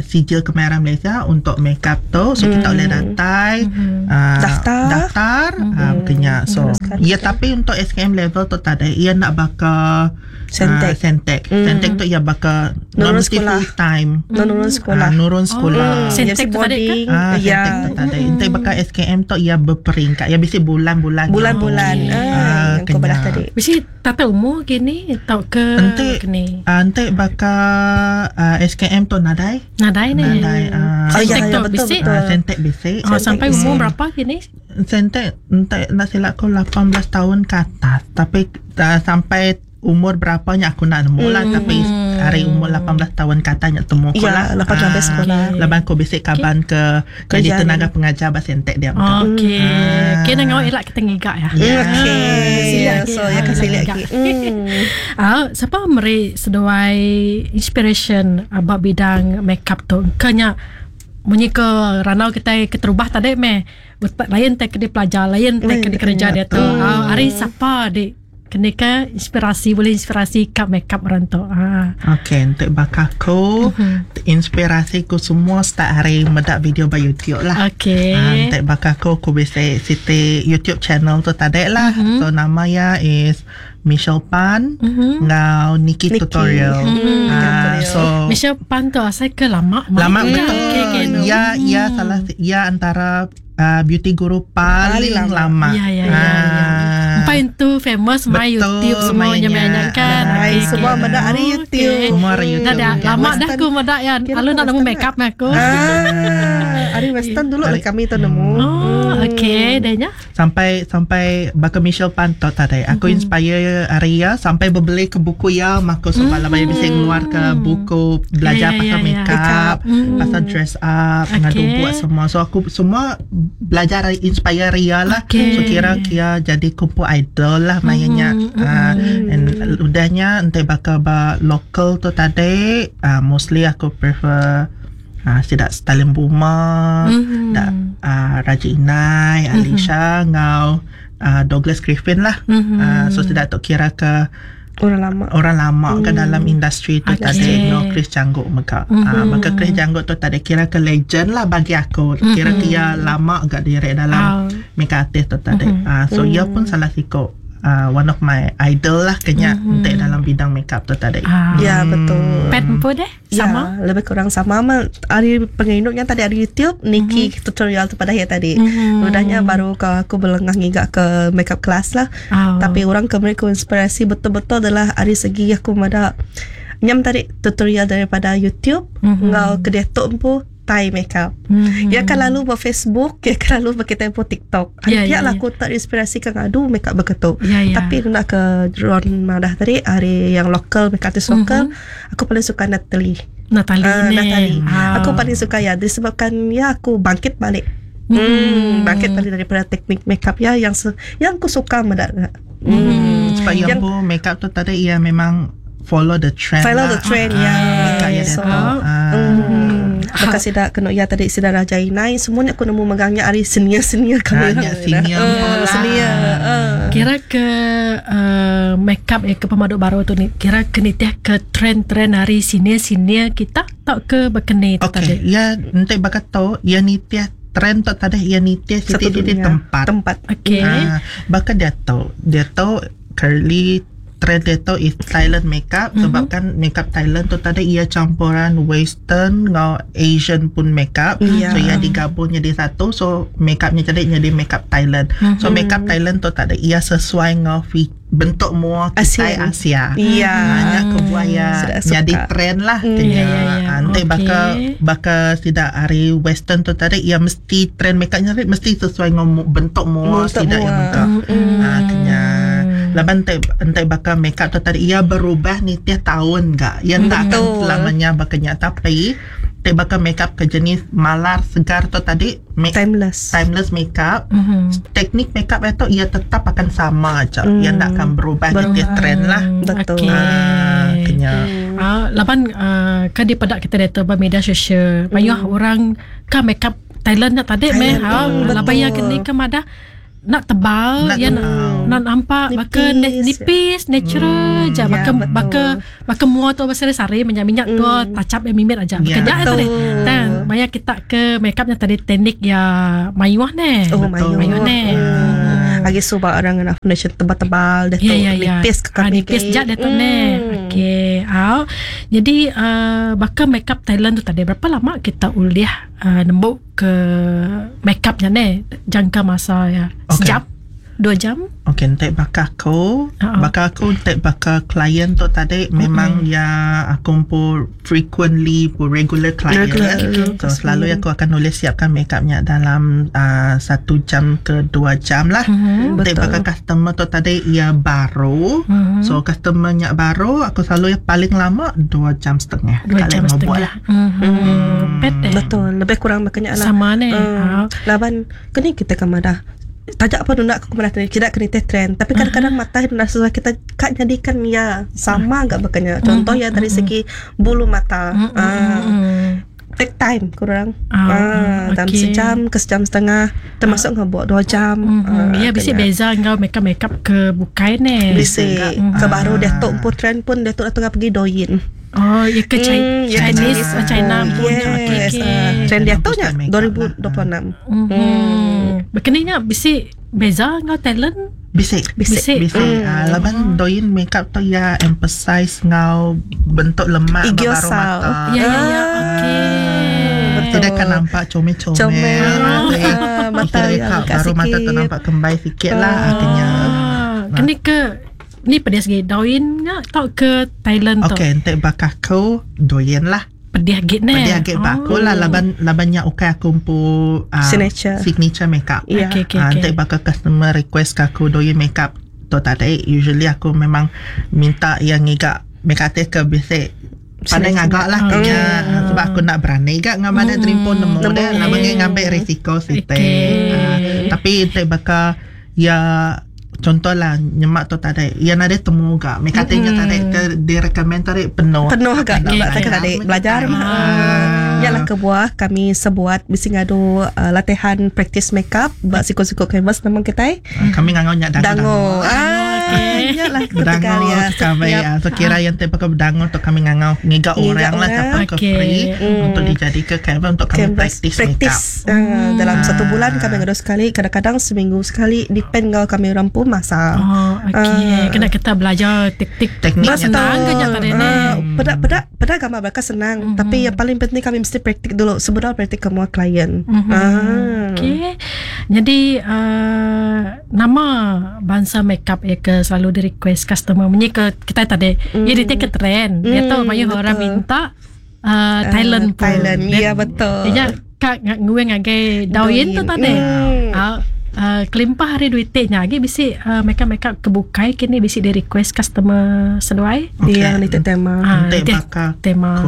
sijil kemahiran Malaysia untuk makeup tu so mm. kita boleh datang mm-hmm. Daftar. daftar mm-hmm. Kenya so Teruskan. ya tapi untuk SKM level tu tadi ia nak bakal Sentek. Sentek mm. Sentek tu ia bakal Nurun non mesti sekolah. full time Nurun sekolah. Ah, nurun sekolah Oh. Ya, Sentek si tu tadi ke? boarding. Ah, Ya. Sentek tu tadi. Ente bakal SKM tu ia berperingkat. Ya bisa bulan-bulan. Bulan-bulan. Ah, Ah, yang kau kena. belah tadi. Mesti tata umur gini atau ke Ente kini. ente bakal SKM tu nadai. Nadai ni. Nadai. Ah, Oh, ya, Sentek ya, tu betul, bisi. betul. Sentek basic. Oh, sampai Sentek umur berapa gini? Sentek ente nak silap aku 18 tahun ke atas. Tapi sampai umur berapanya aku nak nemu lah. Tapi hari umur 18 tahun ke atas nak temu aku Ya, lah. 18 sekolah. Lepas aku basic kaban ke jadi Kerja tenaga pengajar bah sentek dia. Okey. Ah. Okey, nak ngau elak kita ngigak ya. Hmm, Okey. Silap lagi. So, ya kan silap lagi. Ah, siapa meri seduai inspiration about bidang makeup tu? Kenya munyi ke ranau kita keterubah tadi meh. Utak lain tak kena pelajar, lain tak kena kerja dia tu. Ah, hari siapa dik kena ke inspirasi boleh inspirasi kat makeup orang tu. Ah. Okey, untuk bakaku, inspirasi ku semua start hari medak video by YouTube lah. Okey. Ah, untuk bakaku, aku bisa siti YouTube channel tu tadi lah. So, nama ya is Michelle Pan ngau Nikki, Nikki. Tutorial. Mhm, Ah, Tutorial. so, Michelle Pan tu asal ke lama lama main betul. Okey, okey, no. Ya, ya salah ya antara beauty guru paling, Paling lama. lama. Ya, ya, ya, ya. Ah. Empat itu famous my Betul, YouTube semuanya mainnya. banyak kan. Ah, Okey, semua okey. benda hari Okey. YouTube. Semua hari YouTube. Dah dah Kan. lama dah Western. aku medak ya. Kira Lalu nak nemu Western make up aku. Ah, hari Western dulu lah kami tu nemu. Oh, okey, dah nya. Sampai sampai baka Michelle Pantot tadi. Aku mm-hmm. inspire Arya sampai berbeli ke buku ya maka sebab mm. lama bisa keluar ke buku belajar Ya, ya, pasal ya, ya. makeup, pasal dress up, Okey. ngadu buat semua. So aku semua belajar inspire Ria lah. Okey. So kira kira jadi kumpul idol lah mainnya. Mm-hmm. And udahnya entah bakal ba local tu tadi, mostly aku prefer sidak Stalin Buma, mm-hmm. dak Raja Inai, Alisha, ngau Douglas Griffin lah. Mm-hmm. So sidak tok kira ke Orang lama. orang lama ke dalam industri tu Okey. tadi no Chris Janggut maka. Mm-hmm. Maka Chris Janggut tu tadi kira ke legend lah bagi aku. Kira mm-hmm. kia lama agak direk dalam Ah. makeup artist tu tadi. So ia pun salah siko one of my idol lah kenya mm-hmm. untuk dalam bidang makeup tu tadi. Ah. Ya, betul. Pet pun deh sama. Ya, lebih kurang sama. Ma, hari penginduknya tadi hari YouTube Nikki tutorial tu pada hari tadi. Udahnya baru ke aku belengah ngigak ke makeup class lah. Oh. Tapi orang ke mereka inspirasi betul-betul adalah hari segi aku mada nyam tadi tutorial daripada YouTube mm-hmm. ngau ke dia tu empu Thai makeup. Mm-hmm. Ya kan lalu ber Facebook, ya kan lalu ber kita pun TikTok. Ya, Yeah, ya, lah ya. aku terinspirasi kan adu makeup begitu. Ya, ya. Tapi nak ke Ron Madah tadi hari yang local makeup artist local, aku paling suka Natalie. Natalie Ah, ni. Natalie. Ah. Aku paling suka ya disebabkan ya aku bangkit balik. Bangkit balik daripada teknik makeup ya yang yang aku suka mendak. Sebab yang, Yang- pun makeup tu tadi ia memang follow the trend Follow lah. the trend, ya. Makeup ya dia So, tahu. Ah. Bekas sidak kena ya tadi sidak Raja Inai semuanya aku nemu megangnya hari senior-senior Ah, kami. ya, senior pun lah. Senior. ah. Kira ke makeup yang ke pemaduk baru tu ni kira ke nitiah ke trend-trend hari senior-senior kita tak ke berkena tu Okey, tadi. ya nanti bakal tahu ya nitiah trend tu tadi ya nitiah Satu siti-siti dunia. tempat. Tempat. Okey. Ah, bahkan dia tahu, dia tahu curly trend dia tu is Thailand makeup mm-hmm. sebab kan makeup Thailand tu tadi ia campuran western ngau Asian pun makeup. Yeah. So ia digabung jadi satu, so makeupnya jadi jadi makeup Thailand. Mm-hmm. So makeup Thailand tu tadi ia sesuai ngau bentuk mua kita Asia. Ya. Hanya kebuaya jadi trend lah. Ya, ya, ya. Nanti okay. baka baka tidak hari western tu tadi ia mesti trend makeupnya mesti sesuai dengan bentuk mua tidak yang bentuk. Ha kena. Laban entai bakal makeup tu tadi ia berubah ni tiap tahun gak. Ia tak akan selamanya bakanya, tapi entai bakal makeup ke jenis malar segar tu tadi timeless timeless makeup. Teknik makeup itu ia tetap akan sama aja. Ia tak akan berubah ni tiap trend lah. Betul. Okay. Kena. Laban kan di pedak kita data media sosial banyak orang kan makeup Thailand nak tadi meh. Laban yang kini ke madah nak tebal, nak ya nak nampak baka nipis natural je, baka baka baka mua tu besar-besar minyak-minyak tu touch up yang mimit aja. Baka nya tadi. Dan banyak kita ke makeupnya tadi teknik ya mayuh ne. Oh, mayuh ne. Lagi sebab orang nak foundation tebal-tebal dah tu nipis ke kami. Nipis jat dah tu ne. Okey. Jadi baka makeup Thailand tu tadi berapa lama kita uliah nembuk ke makeupnya ne jangka masa ya? Okay. Sejam? 2 jam? Okey, entek bakal aku, bakal aku entek bakal klien tu tadi memang ya aku pun frequently pun regular client. Regular. So selalu aku akan nulis siapkan makeupnya dalam 1 jam ke 2 jam lah. Entek bakal customer tu tadi ia baru. So customernya baru aku selalu yang paling lama 2 jam setengah. 2 jam setengah lah. Betul, lebih kurang makanya lah. Sama ni. Laban kini kita kemadah tajak apa nak aku kena tidak kena trend, tapi kadang-kadang mata nak sesuai kita kak jadikan ya sama enggak makanya. Contoh ya dari segi bulu mata, take time kurang dalam sejam ke sejam setengah termasuk ngebuat 2 jam. Ya bisa beza engkau makeup makeup ke bukai ne bisa ke baru dia tok pun trend pun dia tok tengah pergi doyin. Oh, ya ke Chinese, China pun. Yes. Okay. Trend dia tu nya 2026. Begininya bisa beza ngau talent? Bisa. Laban doin makeup tu ya emphasize ngau bentuk lemak baru mata. Ya. Okey. Tidak akan nampak comel-comel. Mata baru mata tu nampak kembai sikit lah akhirnya. Kini ke ni pedih segi doin ngak tau ke Thailand tu. Okey, entek bakal aku doin lah. Pedih git ne. Pedih git bak aku lah laban labannya ukai aku pu signature makeup. Yeah. Okay. Entek bakal customer request ke aku doin makeup tu tadi usually aku memang minta yang ngigak makeup artist ke biasa pandai ngagak lah kena sebab aku nak berani gak ngam ada terimpun nemu dah laban ngambil risiko site. Tapi entek bakal ya contohlah nyemak tu tadi yang ada temu gak mereka tanya tadi dia recommend tadi penuh gak tadi belajar ialah kebuah kami sebuat mesti ngadu latihan practice makeup buat sikut-sikut canvas memang kita kami ngangau nyak dango. Iyalah dango kami so kira yang tipe ke dango untuk kami ngangau ngigak orang lah siapa ke free untuk dijadikan canvas untuk kami practice makeup dalam 1 bulan kami ngadu sekali, kadang-kadang seminggu sekali, depend ngau kami orang pun masa. Okey, kena kita belajar teknik senang ke nyata ni. Pada gambar mereka senang, tapi yang paling penting kami mesti praktik dulu sebelum praktik ke semua klien. Okey. Jadi nama bangsa makeup ya ke selalu di request customer menyi ke kita tadi. Ya dia ke trend. Dia tahu banyak orang minta Thailand pun. Thailand, ya betul. Dia kak ngue ngagai doin tu tadi. Kelimpah hari duitnya lagi bisi makeup-makeup kebukai kini bisi di request customer seduai. Okay. Yang ni tema. Entah bakal tema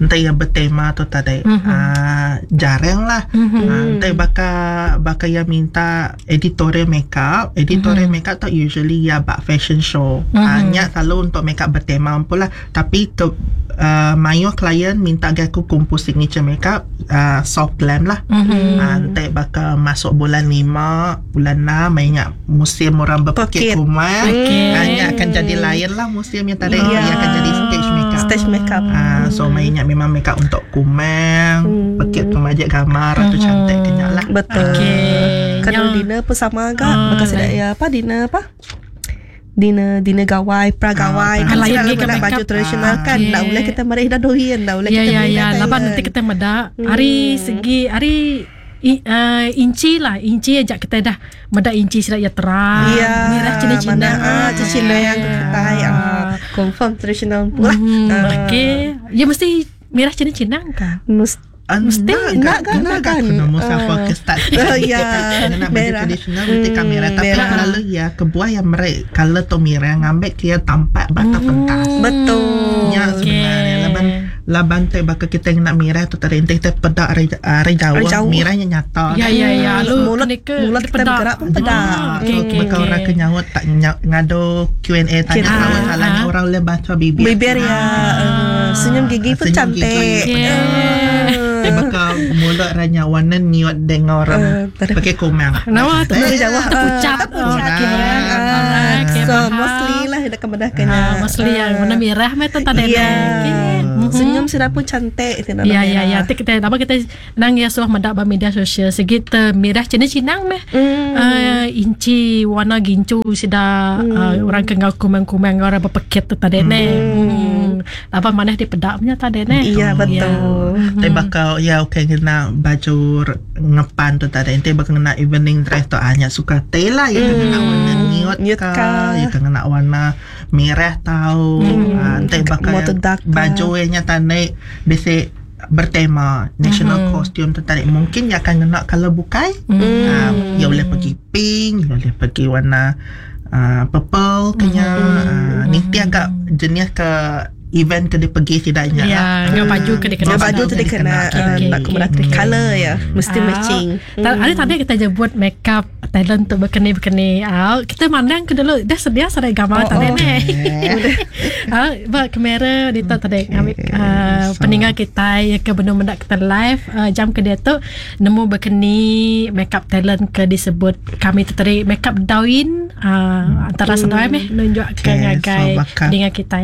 entah yang bertema tu tadi. Jarang lah. Entah bakal yang minta editorial makeup. Editorial makeup tu usually ya bak fashion show. Hanya selalu untuk makeup bertema pun lah. Tapi ke mayo klien minta aku kumpul signature makeup soft glam lah. Entah bakal masuk bulan 5, bulan 6 ingat musim orang berpekit kumar. Hanya akan jadi lain lah musim yang tadi. Ia akan jadi stage makeup. Stage makeup. So mainnya memang makeup untuk kumang, pekit pemajak gambar atau cantik kenyak lah. Betul. Kalau dinner pun sama agak. Maka sudah ya apa dinner apa? Dinner dinner gawai, pra gawai. Ah, Kan lain selalu lagi ke kena baju makeup. tradisional kan. Ah, Nak okey. boleh kita mari dah doyan, dah boleh Ya kita ya beli ya dah laban Thailand. nanti kita meda hari segi hari i, inci lah inci aja kita dah meda inci sida ya terang Ya, merah cina-cina mana ah cina yang kita ah confirm tradisional pula. Hmm, okey. Ya mesti merah cina-cina kah? Mesti Mesti nak kan, nak nak kan. kan Nemu siapa Ah. ke start Oh, ya. Nak baju Merah. tradisional Mesti kan merah Tapi merah. kalau ya Kebuah yang merek Color tu merah Ngambil dia tampak Batas pentas betul. Ya sebenarnya Laban Laban tu bakal kita yang nak merah tu tadi Entah kita pedak Hari, hari jauh, Hari jauh. Merahnya nyata Ya ya ya lu Mulut- ni ke mulut kita pedak. bergerak pun pedak. Ah, So, okey okey. bakal okey. orang ke nyaut tak ngadu Q&A tanya Q&A. kawan salahnya Ah. orang boleh baca bibir. Bibir ya, eh, senyum gigi pun Senyum cantik. gigi. Okey. Eh, bakal mulut ranya warna niat dengan orang Eh, pakai komang. Nama tu Dari jauh terpucat. Terpucat. Okey. Ah, Okey, So faham. mostly lah yang kemudah kena. Ah, mostly yang warna merah meh tu tadi. Ya. Okey. Senyum sudah pun cantik tidak Ya ya ya Nanti kita apa kita nang ya suah mendak ba media sosial segi te merah cina cinang meh. Hmm. Inci warna gincu sida orang ke ngau kumang-kumang orang berpeket tu tadi ne. Apa mana di pedak punya tadi ne. Iya betul. Tapi bakal ya okey kena baju ngepan tu tadi. Nanti bakal kena evening dress tu hanya suka teh lah ya kena warna nude Nude ka, ka. ya kena warna merah tau. Ah, Nanti bakal Mau tu dark ka. baju nya tadi basic bertema national costume tu tadi mungkin ya akan kena colour bukai. Ah, ya boleh pergi pink, ya boleh pergi warna purple kenya. Ah, Nanti agak jenis ke event ke dia pergi tidaknya Ya, lah. dengan baju ke dia kena. Dengan baju tu dia kena Okey, eh, okey, nak okey. kemudah color ya, mesti Ah, matching. Ada tadi kita je buat makeup talent tu berkeni-berkeni. Ah, kita mandang ke dulu dah sedia sada gambar Oh, tadi oh. ni. Ah, buat kamera dia tu tadi ambil so- peninggal kita ya ke benda mendak kita live jam ke dia tu nemu berkeni makeup talent ke disebut kami tu tadi makeup dawin antara sedai meh nunjuk ke Okay, ngagai so bakal- dengan kita.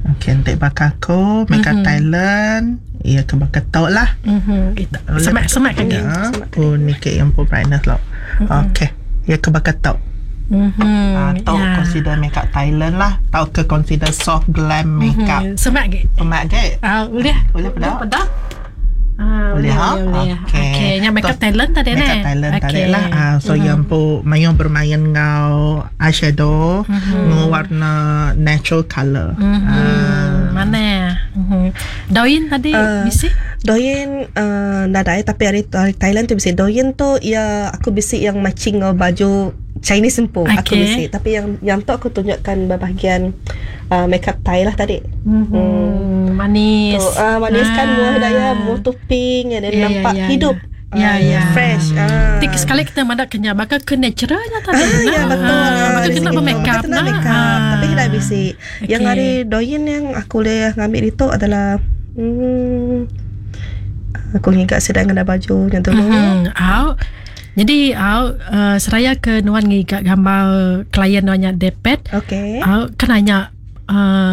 Okey, nanti bakal aku makeup Thailand. Ya, ke bakal tau lah. Mhm. Semak semak kan. Ya, aku ni ke yang pun brightness lah. Okey. Ya, ke bakal tau. Mhm. Ah, tau Ya. consider makeup Thailand lah. Tau ke consider soft glam makeup. Semak ke? Semak ke? Ah, boleh. Boleh pedak? Pedak. Ah, Boleh ha? Boleh. Okey. Okey, yang makeup talent tadi ni. Makeup Thailand tadi Okey. lah. Ah, so mm-hmm. yang pun main bermain ngau eyeshadow, mm-hmm. ngau warna natural colour. Mm-hmm. Hmm, mana? Mhm. Doin tadi Ah. bisi? Doyen nadai tapi hari, hari Thailand tu bisi. Doyen tu ya aku bisi yang matching dengan baju Chinese empu aku Okey. bisi. Tapi yang yang tu aku tunjukkan bahagian makeup Thai lah tadi. Hmm, manis. Tu manis kan Ah. muah daya muah tu pink and then Ya, ya, nampak ya, hidup. Ya, Ah, ya. Fresh. Ah. Tik sekali kita madak kenyal bakal ke naturalnya tadi. Ah, ya betul. Ah, bakal Dari kena segi tu. bermakeup Bakal kena nah. makeup. Ah. Tapi tidak bisi. Yang Okey. hari doyen yang aku boleh ngambil itu adalah aku ingat sedang kena baju yang tu. Au. Jadi au seraya ke nuan ngigak gambar klien nuannya depet. Okey. Au kan nanya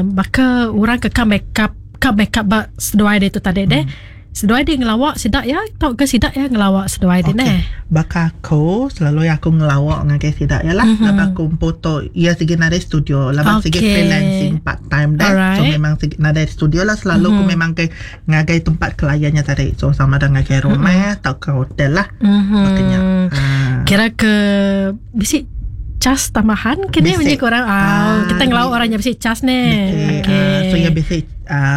baka orang ke ka makeup ka makeup ba seduai dia tu tadi deh. Seduai dia ngelawak sidak ya tau ke sidak ya ngelawak seduai dia Okey. neh. Bakal aku selalu aku ngelawak dengan ke sidak ya lah. Mm-hmm. Lepas aku foto ia segi nada studio. Lepas segi Okey. freelancing part time dah. So Alright. memang segi nada studio lah selalu mm-hmm. aku memang ke ngagai tempat kliennya tadi. So sama dengan ngagai rumah mm-hmm. atau ke hotel lah. Mhm. Makanya. Ha. Kira ke bisi cas tambahan ke ni Bisi. bunyi korang ah, Ah, kita ngelawak orangnya bisi cas ni. Okey. Okey. Ah, so ya basic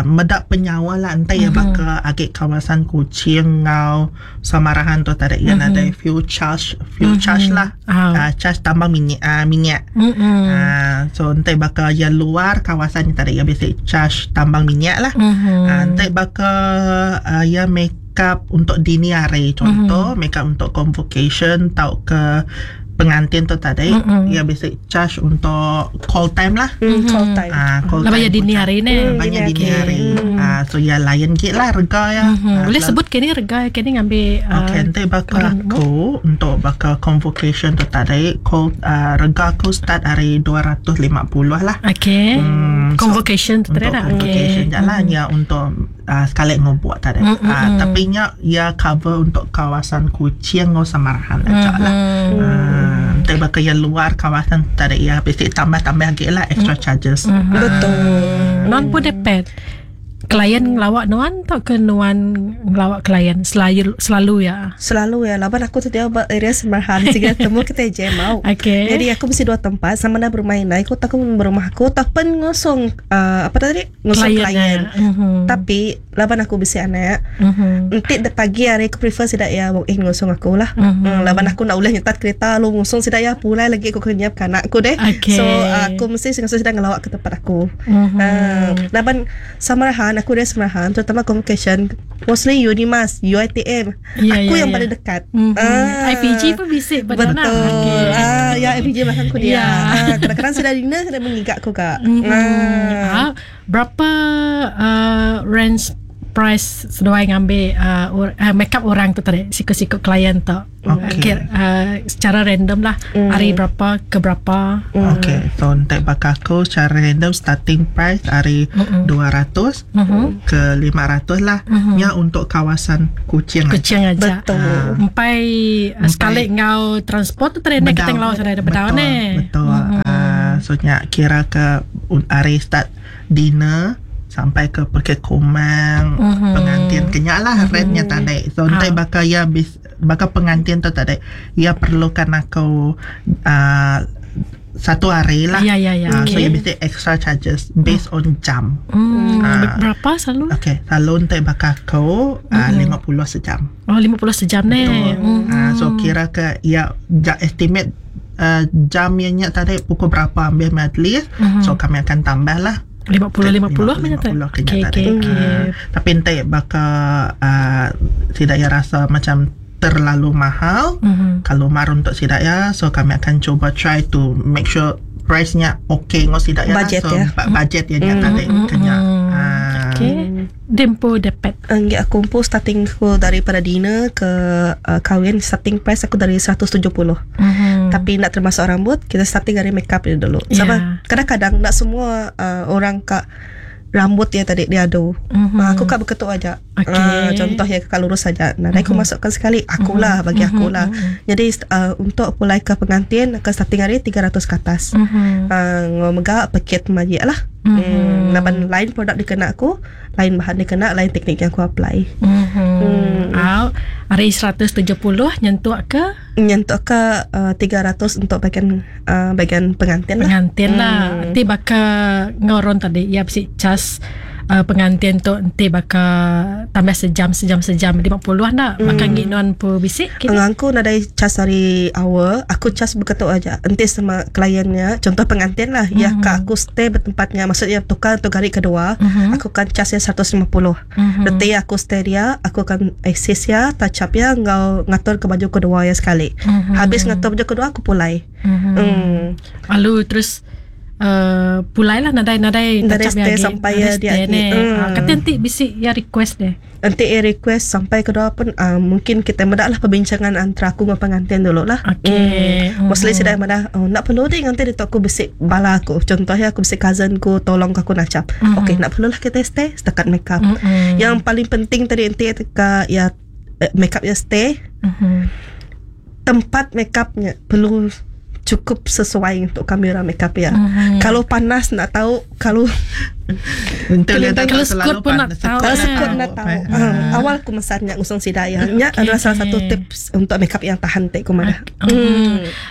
medak penyawa lah entah mm-hmm. ya bakal agak kawasan Kuching ngau Samarahan tu tadi ya mm-hmm. ada fuel charge fuel mm-hmm. charge lah. Ah. Charge tambah minyak minyak. Mm-mm. So entah bakal ya luar kawasan ni tadi ya basic charge tambang minyak lah. Mhm. Entah bakal ya makeup untuk dini hari contoh mm-hmm. makeup untuk convocation tau ke pengantin tu tadi Mm-mm. ya basic charge untuk call time lah. Call time. Call Lah time bayar dini hari ni. Banyak Dini dini hari. hari. So ya lain git lah rega ya. Mhm. Ah, Boleh selalu- sebut kini rega kini ngambil Okay, nanti bakal orang aku untuk bakal convocation tu tadi call rega aku start hari 250 lah. Okey. Convocation tu Untuk tadi lah. convocation Okey. je lah ya untuk sekali ngobuat tadi. Tapi nya ya cover untuk kawasan Kuching ngau Samarahan aja lah. Nanti Entah baka yang luar kawasan tadi ya bisi tambah-tambah lagi lah extra charges. Betul. Nuan pun dapat klien ngelawak nuan atau ke nuan ngelawak klien selalu selalu ya? Selalu ya, laban aku tu dia ba area Semerahan sehingga temu kita je mau. Okey. Jadi aku mesti dua tempat sama ada berumah inai, aku tak berumah aku tak pen ngosong apa tadi? Ngosong Klien, klien. ya. Tapi laban aku bisi anak. Nanti de pagi hari aku prefer sidak ya walk in ngosong aku lah. Laban aku nak ulih nyetat kereta lu ngosong sidak ya pulai lagi aku kena nyiap anak aku deh. Okey. So aku mesti ngosong sidak ngelawak ke tempat aku. Laban Samarahan aku dari Samarahan terutama communication mostly Unimas, UiTM. Ya, aku ya, yang ya. paling dekat. IPG pun bisik pada Betul. nak. Okey. Ah, ya IPG belakang aku dia. Ya. Ah, kadang-kadang sudah dinner sudah menggigak aku kak. Ah, berapa range price seduai ngambil makeup orang tu tadi sikut-sikut klien tu. Okey. Okay. Secara random lah hari berapa ke berapa. Okay, so untuk bakal aku secara random starting price hari 200 ke 500 lah. Nya untuk kawasan Kuching. aja. Kucing aja. Betul. Empai sekali ngau transport tu tadi nak kita ngelau sana ada bedau Betul, ni. Betul. So nya kira ke hari start dinner sampai ke pergi kumang pengantin kenyak lah rate-nya tadi. So nanti bakal ya bis, bakal pengantin tu tadi ya perlukan aku satu hari lah. Ya, ya, ya. So Okey. ya mesti extra charges based on jam. Berapa selalu? Okay, selalu untuk bakal aku 50 sejam. Oh 50 sejam ni. So kira ke ya estimate jam yang nyak tadi pukul berapa ambil majlis. So kami akan tambah lah 50 50 macam tu. 50 Okey kena okey tadi. okey. Tapi entah bakal tidak ya rasa macam terlalu mahal. Kalau mar untuk tidak ya, so kami akan cuba try to make sure price-nya okay ngos tidak ya. Budget so, ya. budget ya nyak tadi kena. Okey. Dempo dapat. Enggak, aku pun starting aku daripada dinner ke kahwin starting price aku dari 170. Tapi nak termasuk rambut, kita starting dari makeup dia dulu. Ya. Sebab kadang-kadang nak semua orang kak rambut dia tadi dia adu. Aku kak berketuk aja. Okey. Contohnya kakak lurus saja. Nah, aku masukkan sekali akulah bagi akulah. Jadi untuk pulai ke pengantin ke starting hari 300 ke atas. Ngomega paket majik lah. Laban lain produk dikena aku, lain bahan dikena, lain teknik yang aku apply. Hari 170 nyentuh ke Nyentuh ke 300 untuk bagian bagian pengantin lah. pengantin lah. Nanti bakal ngoron tadi ya bisi cas pengantin tu nanti bakal tambah sejam sejam sejam 50 nak bakal ngik nuan pu bisik kini. Aku nadai cas hari awal, aku cas berketuk aja. Nanti sama kliennya, contoh pengantin lah, ya kak aku stay bertempatnya, maksudnya tukar untuk hari kedua, aku kan casnya 150. Nanti aku stay dia, aku akan assist ya, touch up ya, ngau ngatur ke baju kedua ya sekali. Habis ngatur baju kedua aku pulai. Lalu terus pulai lah nadai nadai Nadai touch up stay lagi. sampai Nadai ya dia stay ni. Kata nanti bisik ya request deh. Nanti request sampai kedua pun mungkin kita medak lah perbincangan antara aku dengan pengantin dulu lah. Okey. Mostly saya dah madah, oh, nak perlu deh nanti dia aku besik bala aku. Contohnya aku besik cousin ku tolong aku nak cap. Okey, nak perlu lah kita stay setakat make up. Yang paling penting tadi nanti ketika ya make up ya stay, tempat make upnya perlu cukup sesuai untuk kamera make up ya. Kalau panas nak tahu, kalau Untuk dia tak Kalau selalu sekut pun nak panas, tahu. kalau Ah. sekut nak tahu. Awal aku masanya ngusung sidaya. Nya Okey, adalah salah satu okey. tips untuk make up yang tahan tek ku madah.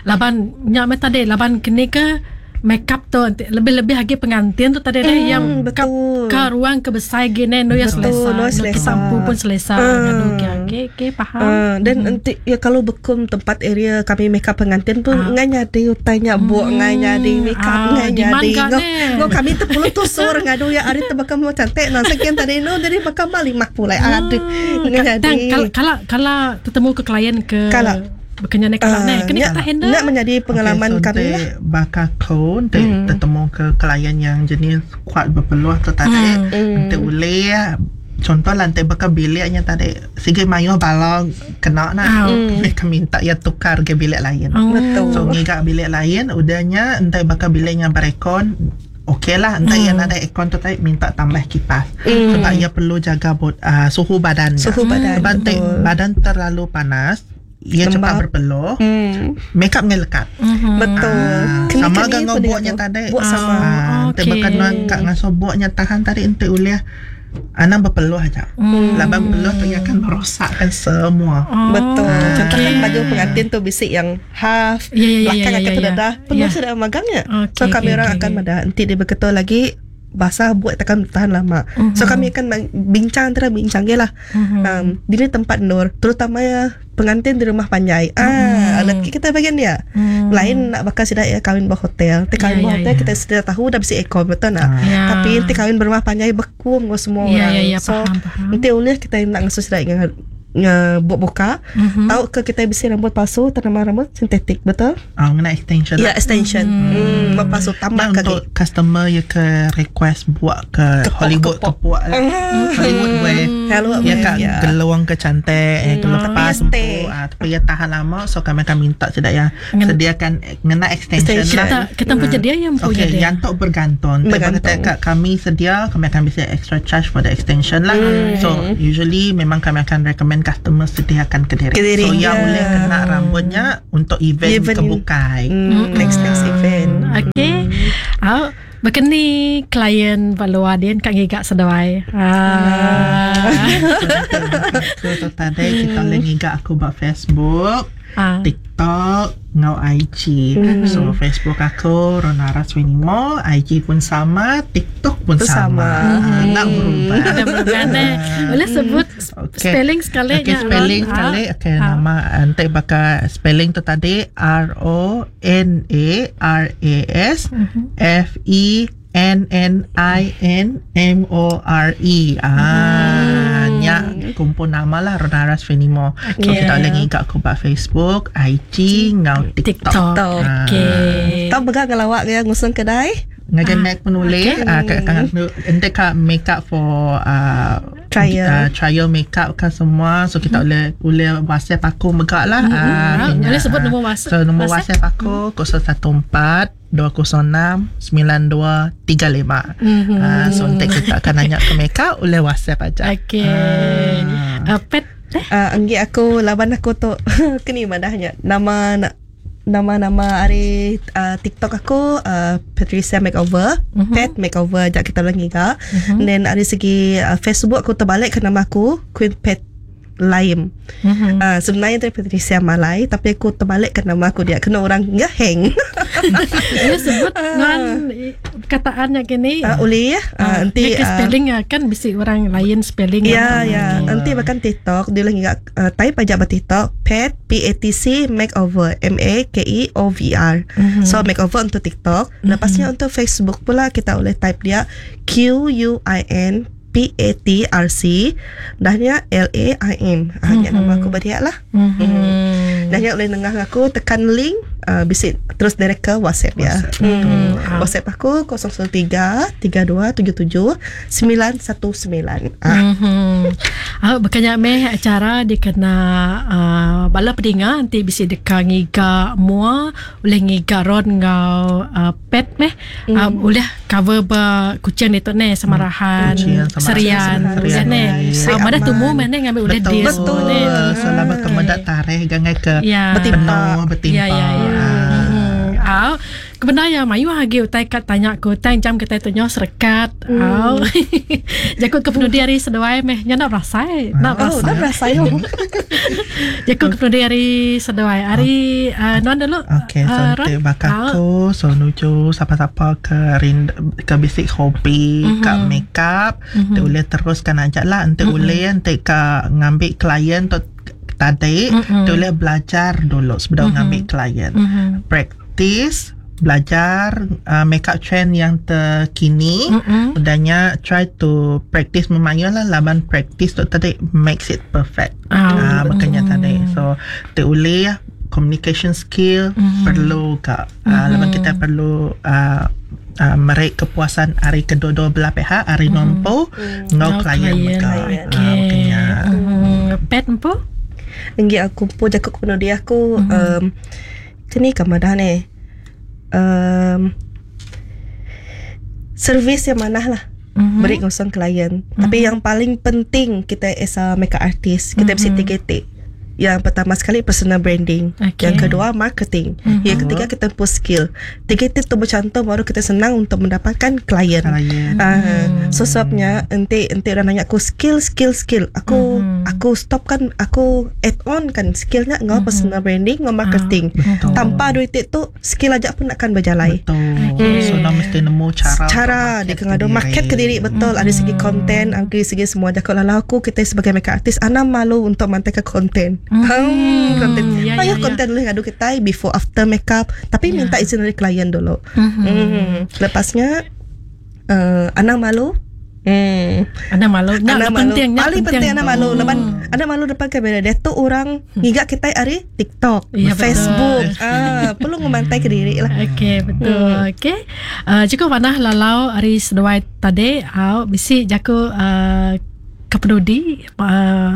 Laban nyak meh tadi laban kini ke make up tu nanti lebih-lebih lagi pengantin tu tadi deh yang ke, betul. ke ruang ke besar gini no ya Betul, selesa. no No selesa. sampu pun selesa. Ngadu Okey okey faham. Dan nanti ya kalau bekum tempat area kami make up pengantin pun ngai nyadi utainya buak ngai nyadi make up ngai demand nyadi. kan, Ngau eh? ngau kami tu perlu tusur ngadu ya ari tu bakal mau cantik nah sekian tadi no jadi bakal mali mak pulai aduh ngai Dan nyadi. kalau kalau kalau ketemu ke klien ke Kalau. Bukannya nak kalau ni kena kita handle. Nak menjadi pengalaman okay, so kami lah. Bakal kau nanti tertemu ke klien yang jenis kuat berpeluh tu tadi. Nanti boleh contoh lah nanti bakal biliknya tadi sige mayu balong kena nak. Mereka minta ya tukar ke bilik lain. Betul. So ngigak bilik lain udahnya entah bakal biliknya berekon okey lah entah yang ada aircon tu tadi minta tambah kipas sebab ia perlu jaga suhu badannya. Suhu badan, Sebab nanti betul. badan terlalu panas ia cepat berpeluh. Makeup ngai lekat. Betul. Ah, Keni sama keni ga enggau pun buk dengan nya tu. tadi. Buk sama. Ah, enti Okey. baka nuan ka ngasuh buk nya tahan tadi enti ulih anang bepeluh aja. Laban peluh tu iya akan merosakkan semua. Betul. Oh, Contoh kan okey. baju pengantin tu bisi yang half Ya, ya, ya, belakang ya, akan ya, terdedah. ya. Penuh Ya. sudah magangnya. Okey, So kami okey, orang okey, akan okey. madah nanti dia berketul lagi basah buat takkan tahan lama. So kami akan bincang antara bincang je lah. Di ni tempat nur, terutama ya pengantin di rumah panjai. Ah, alat kita bagian dia. Lain nak bakal sudah ya kahwin berhotel. Tapi kahwin Ya, ya, berhotel ya. kita sudah tahu dah bisi aircon betul nak. Ya. Tapi nanti kahwin berumah panjai beku dengan semua Ya, orang. ya, ya, so faham, faham. nanti ulih kita nak ngasuh sudah dengan buat buka. Tahu ke kita bisa rambut palsu tanaman rambut sintetik betul? Ah, ngena extension. Ya extension. Rambut palsu tambah Nah, kaki. untuk customer yang ke request buat ke Kepok, Hollywood kepok. kepok lah. Hollywood wear. Hello, Ya kak ya. geluang ke cantik eh Tapi kelepas ya stay. empu ah tapi ya tahan lama so kami akan minta sudah ya Ngen- sediakan ngena extension, Extension. lah. Kita kita punya dia yang punya Okay, dia. yang tu bergantung. Tapi Bergantung. Bergantung. Kami sedia, kami akan bisa extra charge for the extension lah. So, usually memang kami akan recommend customer sediakan ke diri. Ke diri, So, yang ya. boleh kena rambutnya untuk event, Event. kebukai. Next next event. Okey. Ah, berkeni klien balua dia kat ngigak seduai. Ah. So, tu tadi kita boleh ngigak aku buat Facebook, Ah. TikTok, ngau IG. So, Facebook aku Ronara Swenimo, IG pun sama, TikTok pun Pun sama. sama. Ah, nak berubah. Ada berubah eh. Boleh sebut Okay. spelling sekali Okay, nya, Ron. spelling Ah. sekali. Okay, Ah. nama nanti bakal spelling tu tadi R O N A R A S F E N N I N M O R E. Ah, nya kumpul nama lah Ronaras Fenimo. So Okay. kita boleh ngigak aku buat Facebook, IG, ngau TikTok. TikTok. TikTok. Okey. Tahu pegang ngelawak ke ngusung kedai? Ngagai Mac pun boleh. Ah, kat kan ente kat makeup for Trial. trial makeup kan semua. So kita boleh boleh WhatsApp aku megak lah. Ah, Ah, kena. boleh sebut nombor WhatsApp- So nombor WhatsApp? WhatsApp aku 014 206 9235. Ah, so nanti kita akan nanya ke makeup boleh WhatsApp aja. Okey. Ah. Pet eh? Enggi aku laban aku tu kini madahnya nama nak nama-nama hari TikTok aku Patricia Makeover, Pet Makeover jak kita ulang giga. Then dari segi Facebook aku terbalik ke nama aku Queen Pet Lime. Sebenarnya tu Patricia Malai tapi aku terbalik ke nama aku dia kena orang ngeheng. Boleh sebut nuan perkataannya gini. Boleh ya. Nanti Dia ke spelling ah, kan bisi orang lain spelling. Ya, ya. Nanti bahkan TikTok dia lagi type aja bah TikTok pet P A T C makeover M A K E O V R. So makeover untuk TikTok. Lepasnya untuk Facebook pula kita boleh type dia Q U I N P A T R C dahnya L A I M. Hanya nama aku berdia lah. Dahnya boleh nengah aku tekan link bisik terus direct ke WhatsApp ya. WhatsApp aku 013 3277 919. Ah. Ah, bukannya meh acara dia kena bala pedinga nanti bisi deka ngiga mua boleh ngiga ron ngau pet meh boleh cover ba kucing itu ne samarahan Kucing, Samarahan, serian Serian, serian ne ya, ya. mana tumu mana ngambil boleh Betul. dia Betul. So lama kemudak tarikh gangai ke Ya. penuh bertimpa. Ya ya ya. Ah. Ah, kebenar ya mayu hagi utai kat tanya ku tang jam kita tu nyo serekat. Au. Jakut ke penudi hari seduai meh nya nak berasai, nak Oh, berasai. dah berasa yo. Jakut ke penudi hari seduai. Hari non dulu. Okay, so ah, nanti Ron. bakal Ah. aku so nuju siapa-siapa ke rind, ke basic hobi, mm-hmm. ke makeup, mm-hmm. boleh teruskan aja lah. Nanti mm-hmm. boleh nanti ke ngambil klien tu tadi, mm-hmm. boleh belajar dulu sebelum mm-hmm. ngambil klien. Mm-hmm. Practice belajar makeup trend yang terkini mm-hmm. Udahnya try to practice memayun lah laban practice tu tadi makes it perfect ah makanya tadi so boleh communication skill perlu kak mm-hmm. laban kita perlu merik kepuasan hari kedua-dua belah pihak hari mm-hmm. nompo ngau Ngau klien klien. maka Okey. makanya Pet empu? Enggi aku pun jakut ke penudi aku kini kamadah ni. Servis yang manah lah. Beri ngosong klien. Tapi yang paling penting kita as a makeup artist, kita mesti TKT. Yang pertama sekali personal branding. Okey. Yang kedua marketing. Yang ketiga kita punya skill. Tiga itu tu bercantum baru kita senang untuk mendapatkan klien. Klien. Ah, so sebabnya enti enti orang nanya aku skill skill skill. Aku aku stop kan aku add on kan skillnya ngau personal branding ngau marketing. Betul. Tanpa duit itu skill aja pun akan berjalai. Betul. So nak mesti nemu cara Cara untuk dia kena ada market ke diri betul ada segi konten ada segi semua jaga lalau aku kita sebagai makeup artist ana malu untuk mantaikan konten. Konten. Ya, Banyak ya, ya. konten boleh ngadu kita before after makeup tapi minta izin dari klien dulu. Lepasnya ana malu. Ana malu. Nak Ana malu. penting, nak Paling penting ana malu. Lepas ana malu depan kamera. Dia tu orang ngigak kita hari TikTok, Ya, betul. Facebook. Ah, perlu ngemantai ke diri lah. Okey, betul. Okey. Cukup panah lalau hari seduai tadi au bisi jaku kepenudi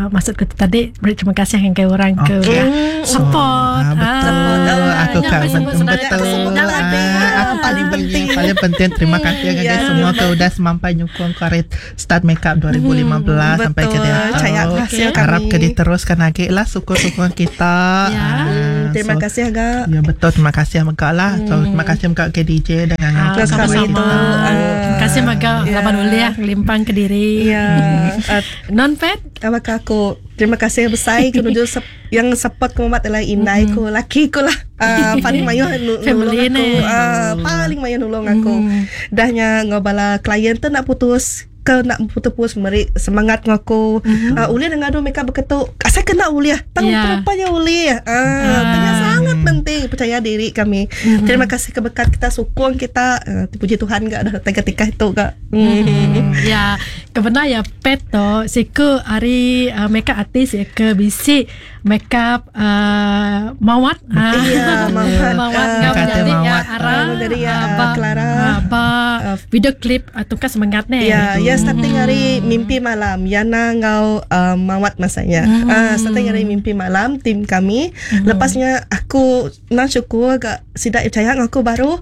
maksud ke tadi beri terima kasih dengan orang ke Okey. support. Ah, betul. Ah, Aku yang kan sebut sebenarnya. betul. Aku sebut Ah, tadi. aku Paling penting. Paling penting terima kasih Ya. guys semua ke udah semampai nyukung karet start makeup 2015 sampai ke Betul. dia. Percaya aku hasil kami. Harap ke diteruskan lagi lah suku-suku kita. Ya. Ah, Terima so, kasih agak. Ya betul terima kasih Mekak lah. So, terima kasih Mekak ke DJ dengan Ah, Terima kasih sama-sama. itu. Ah. Terima kasih Maga Ya. laban uliah ngelimpang ke diri. Ya. Non pet Apakah aku terima kasih besar ke nuju yang support ku mat adalah indai ku laki ku lah. Paling mayuh nulung Family aku. ni. Paling mayuh nulung aku. Dahnya ngobala klien tu nak putus ke nak putus-putus meri semangat ngaku. Mm-hmm. Uliah dengan adu mereka berketuk. Asal kena uliah. Tang Ya. rupanya uliah. Tanya sangat penting percaya diri kami. Terima kasih ke berkat kita sokong kita. Puji Tuhan gak dah ketika itu gak. Ya, kebenar ya pet to siku hari makeup artist ya ke bisi makeup mawat. Ya, Mawat. Mawat ngau Kata jadi ya Mawat. Ara Jadi ya, ba, Clara. ba video klip tungkas semangat ne. Ya, ya starting hari mimpi malam. Yana ngau mawat masanya. Starting hari mimpi malam tim kami. Lepasnya aku nak syukur agak sidak percaya aku baru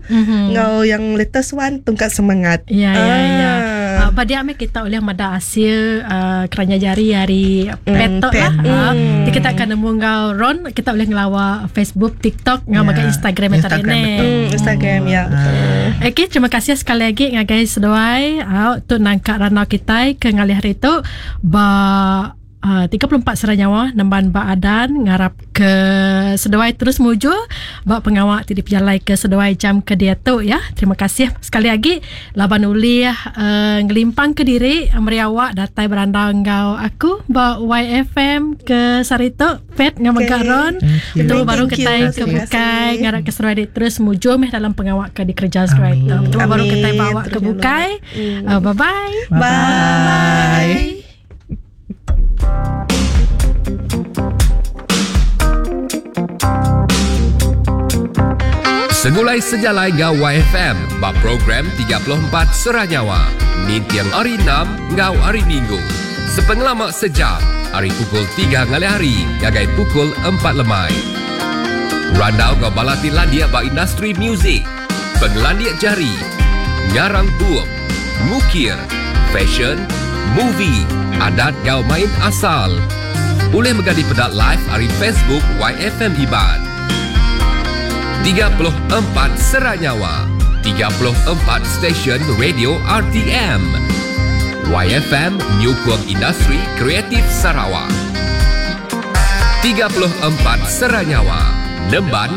ngau yang latest one tungkat semangat. Ya, ya, ya. Ah. Pada ame kita oleh mada hasil kerana jari hari petok pet. lah. Jadi kita akan nemu ngau Ron, kita boleh ngelawa Facebook, TikTok, ngau Ya, makan Instagram tadi Instagram ni. betul. Instagram ya. Betul. Okey, terima kasih sekali lagi ngagai seduai. Au tu nangkak ranau kita ke ngalih hari tu ba 34 serai nyawa nemban ba adan ngarap ke seduai terus muju ba pengawak ti dipejalai ke seduai jam ke dia tu ya. Terima kasih sekali lagi laban ulih ngelimpang ke diri meriawak datai berandau ngau aku ba YFM ke Sarito Pet ngau Okey. okay. Ron. Thank you. Betul baru Thank you. kita ke Terima bukai kasih. ngarap ke seduai dia terus muju meh dalam pengawak ke dikerja seduai tu. Amin. Betul baru Amin. kita bawa ke Terus bukai. Bye bye. Bye. Bye. Segulai sejalai ngau YFM bab program 34 Serah Nyawa. Nintiang hari 6 ngau hari Minggu. Sepengelamak sejam, hari pukul 3 ngalih hari, gagai pukul 4 lemai. Randau ngau balati landia ba industri muzik. Pengelandia jari, ngarang bup, ngukir, fashion, movie, adat ngau main asal. Boleh megadi pedak live hari Facebook YFM Iban. 34 Serat Nyawa 34 Stesen Radio RTM YFM Nyukung Industri Kreatif Sarawak 34 Serat Nyawa Nemban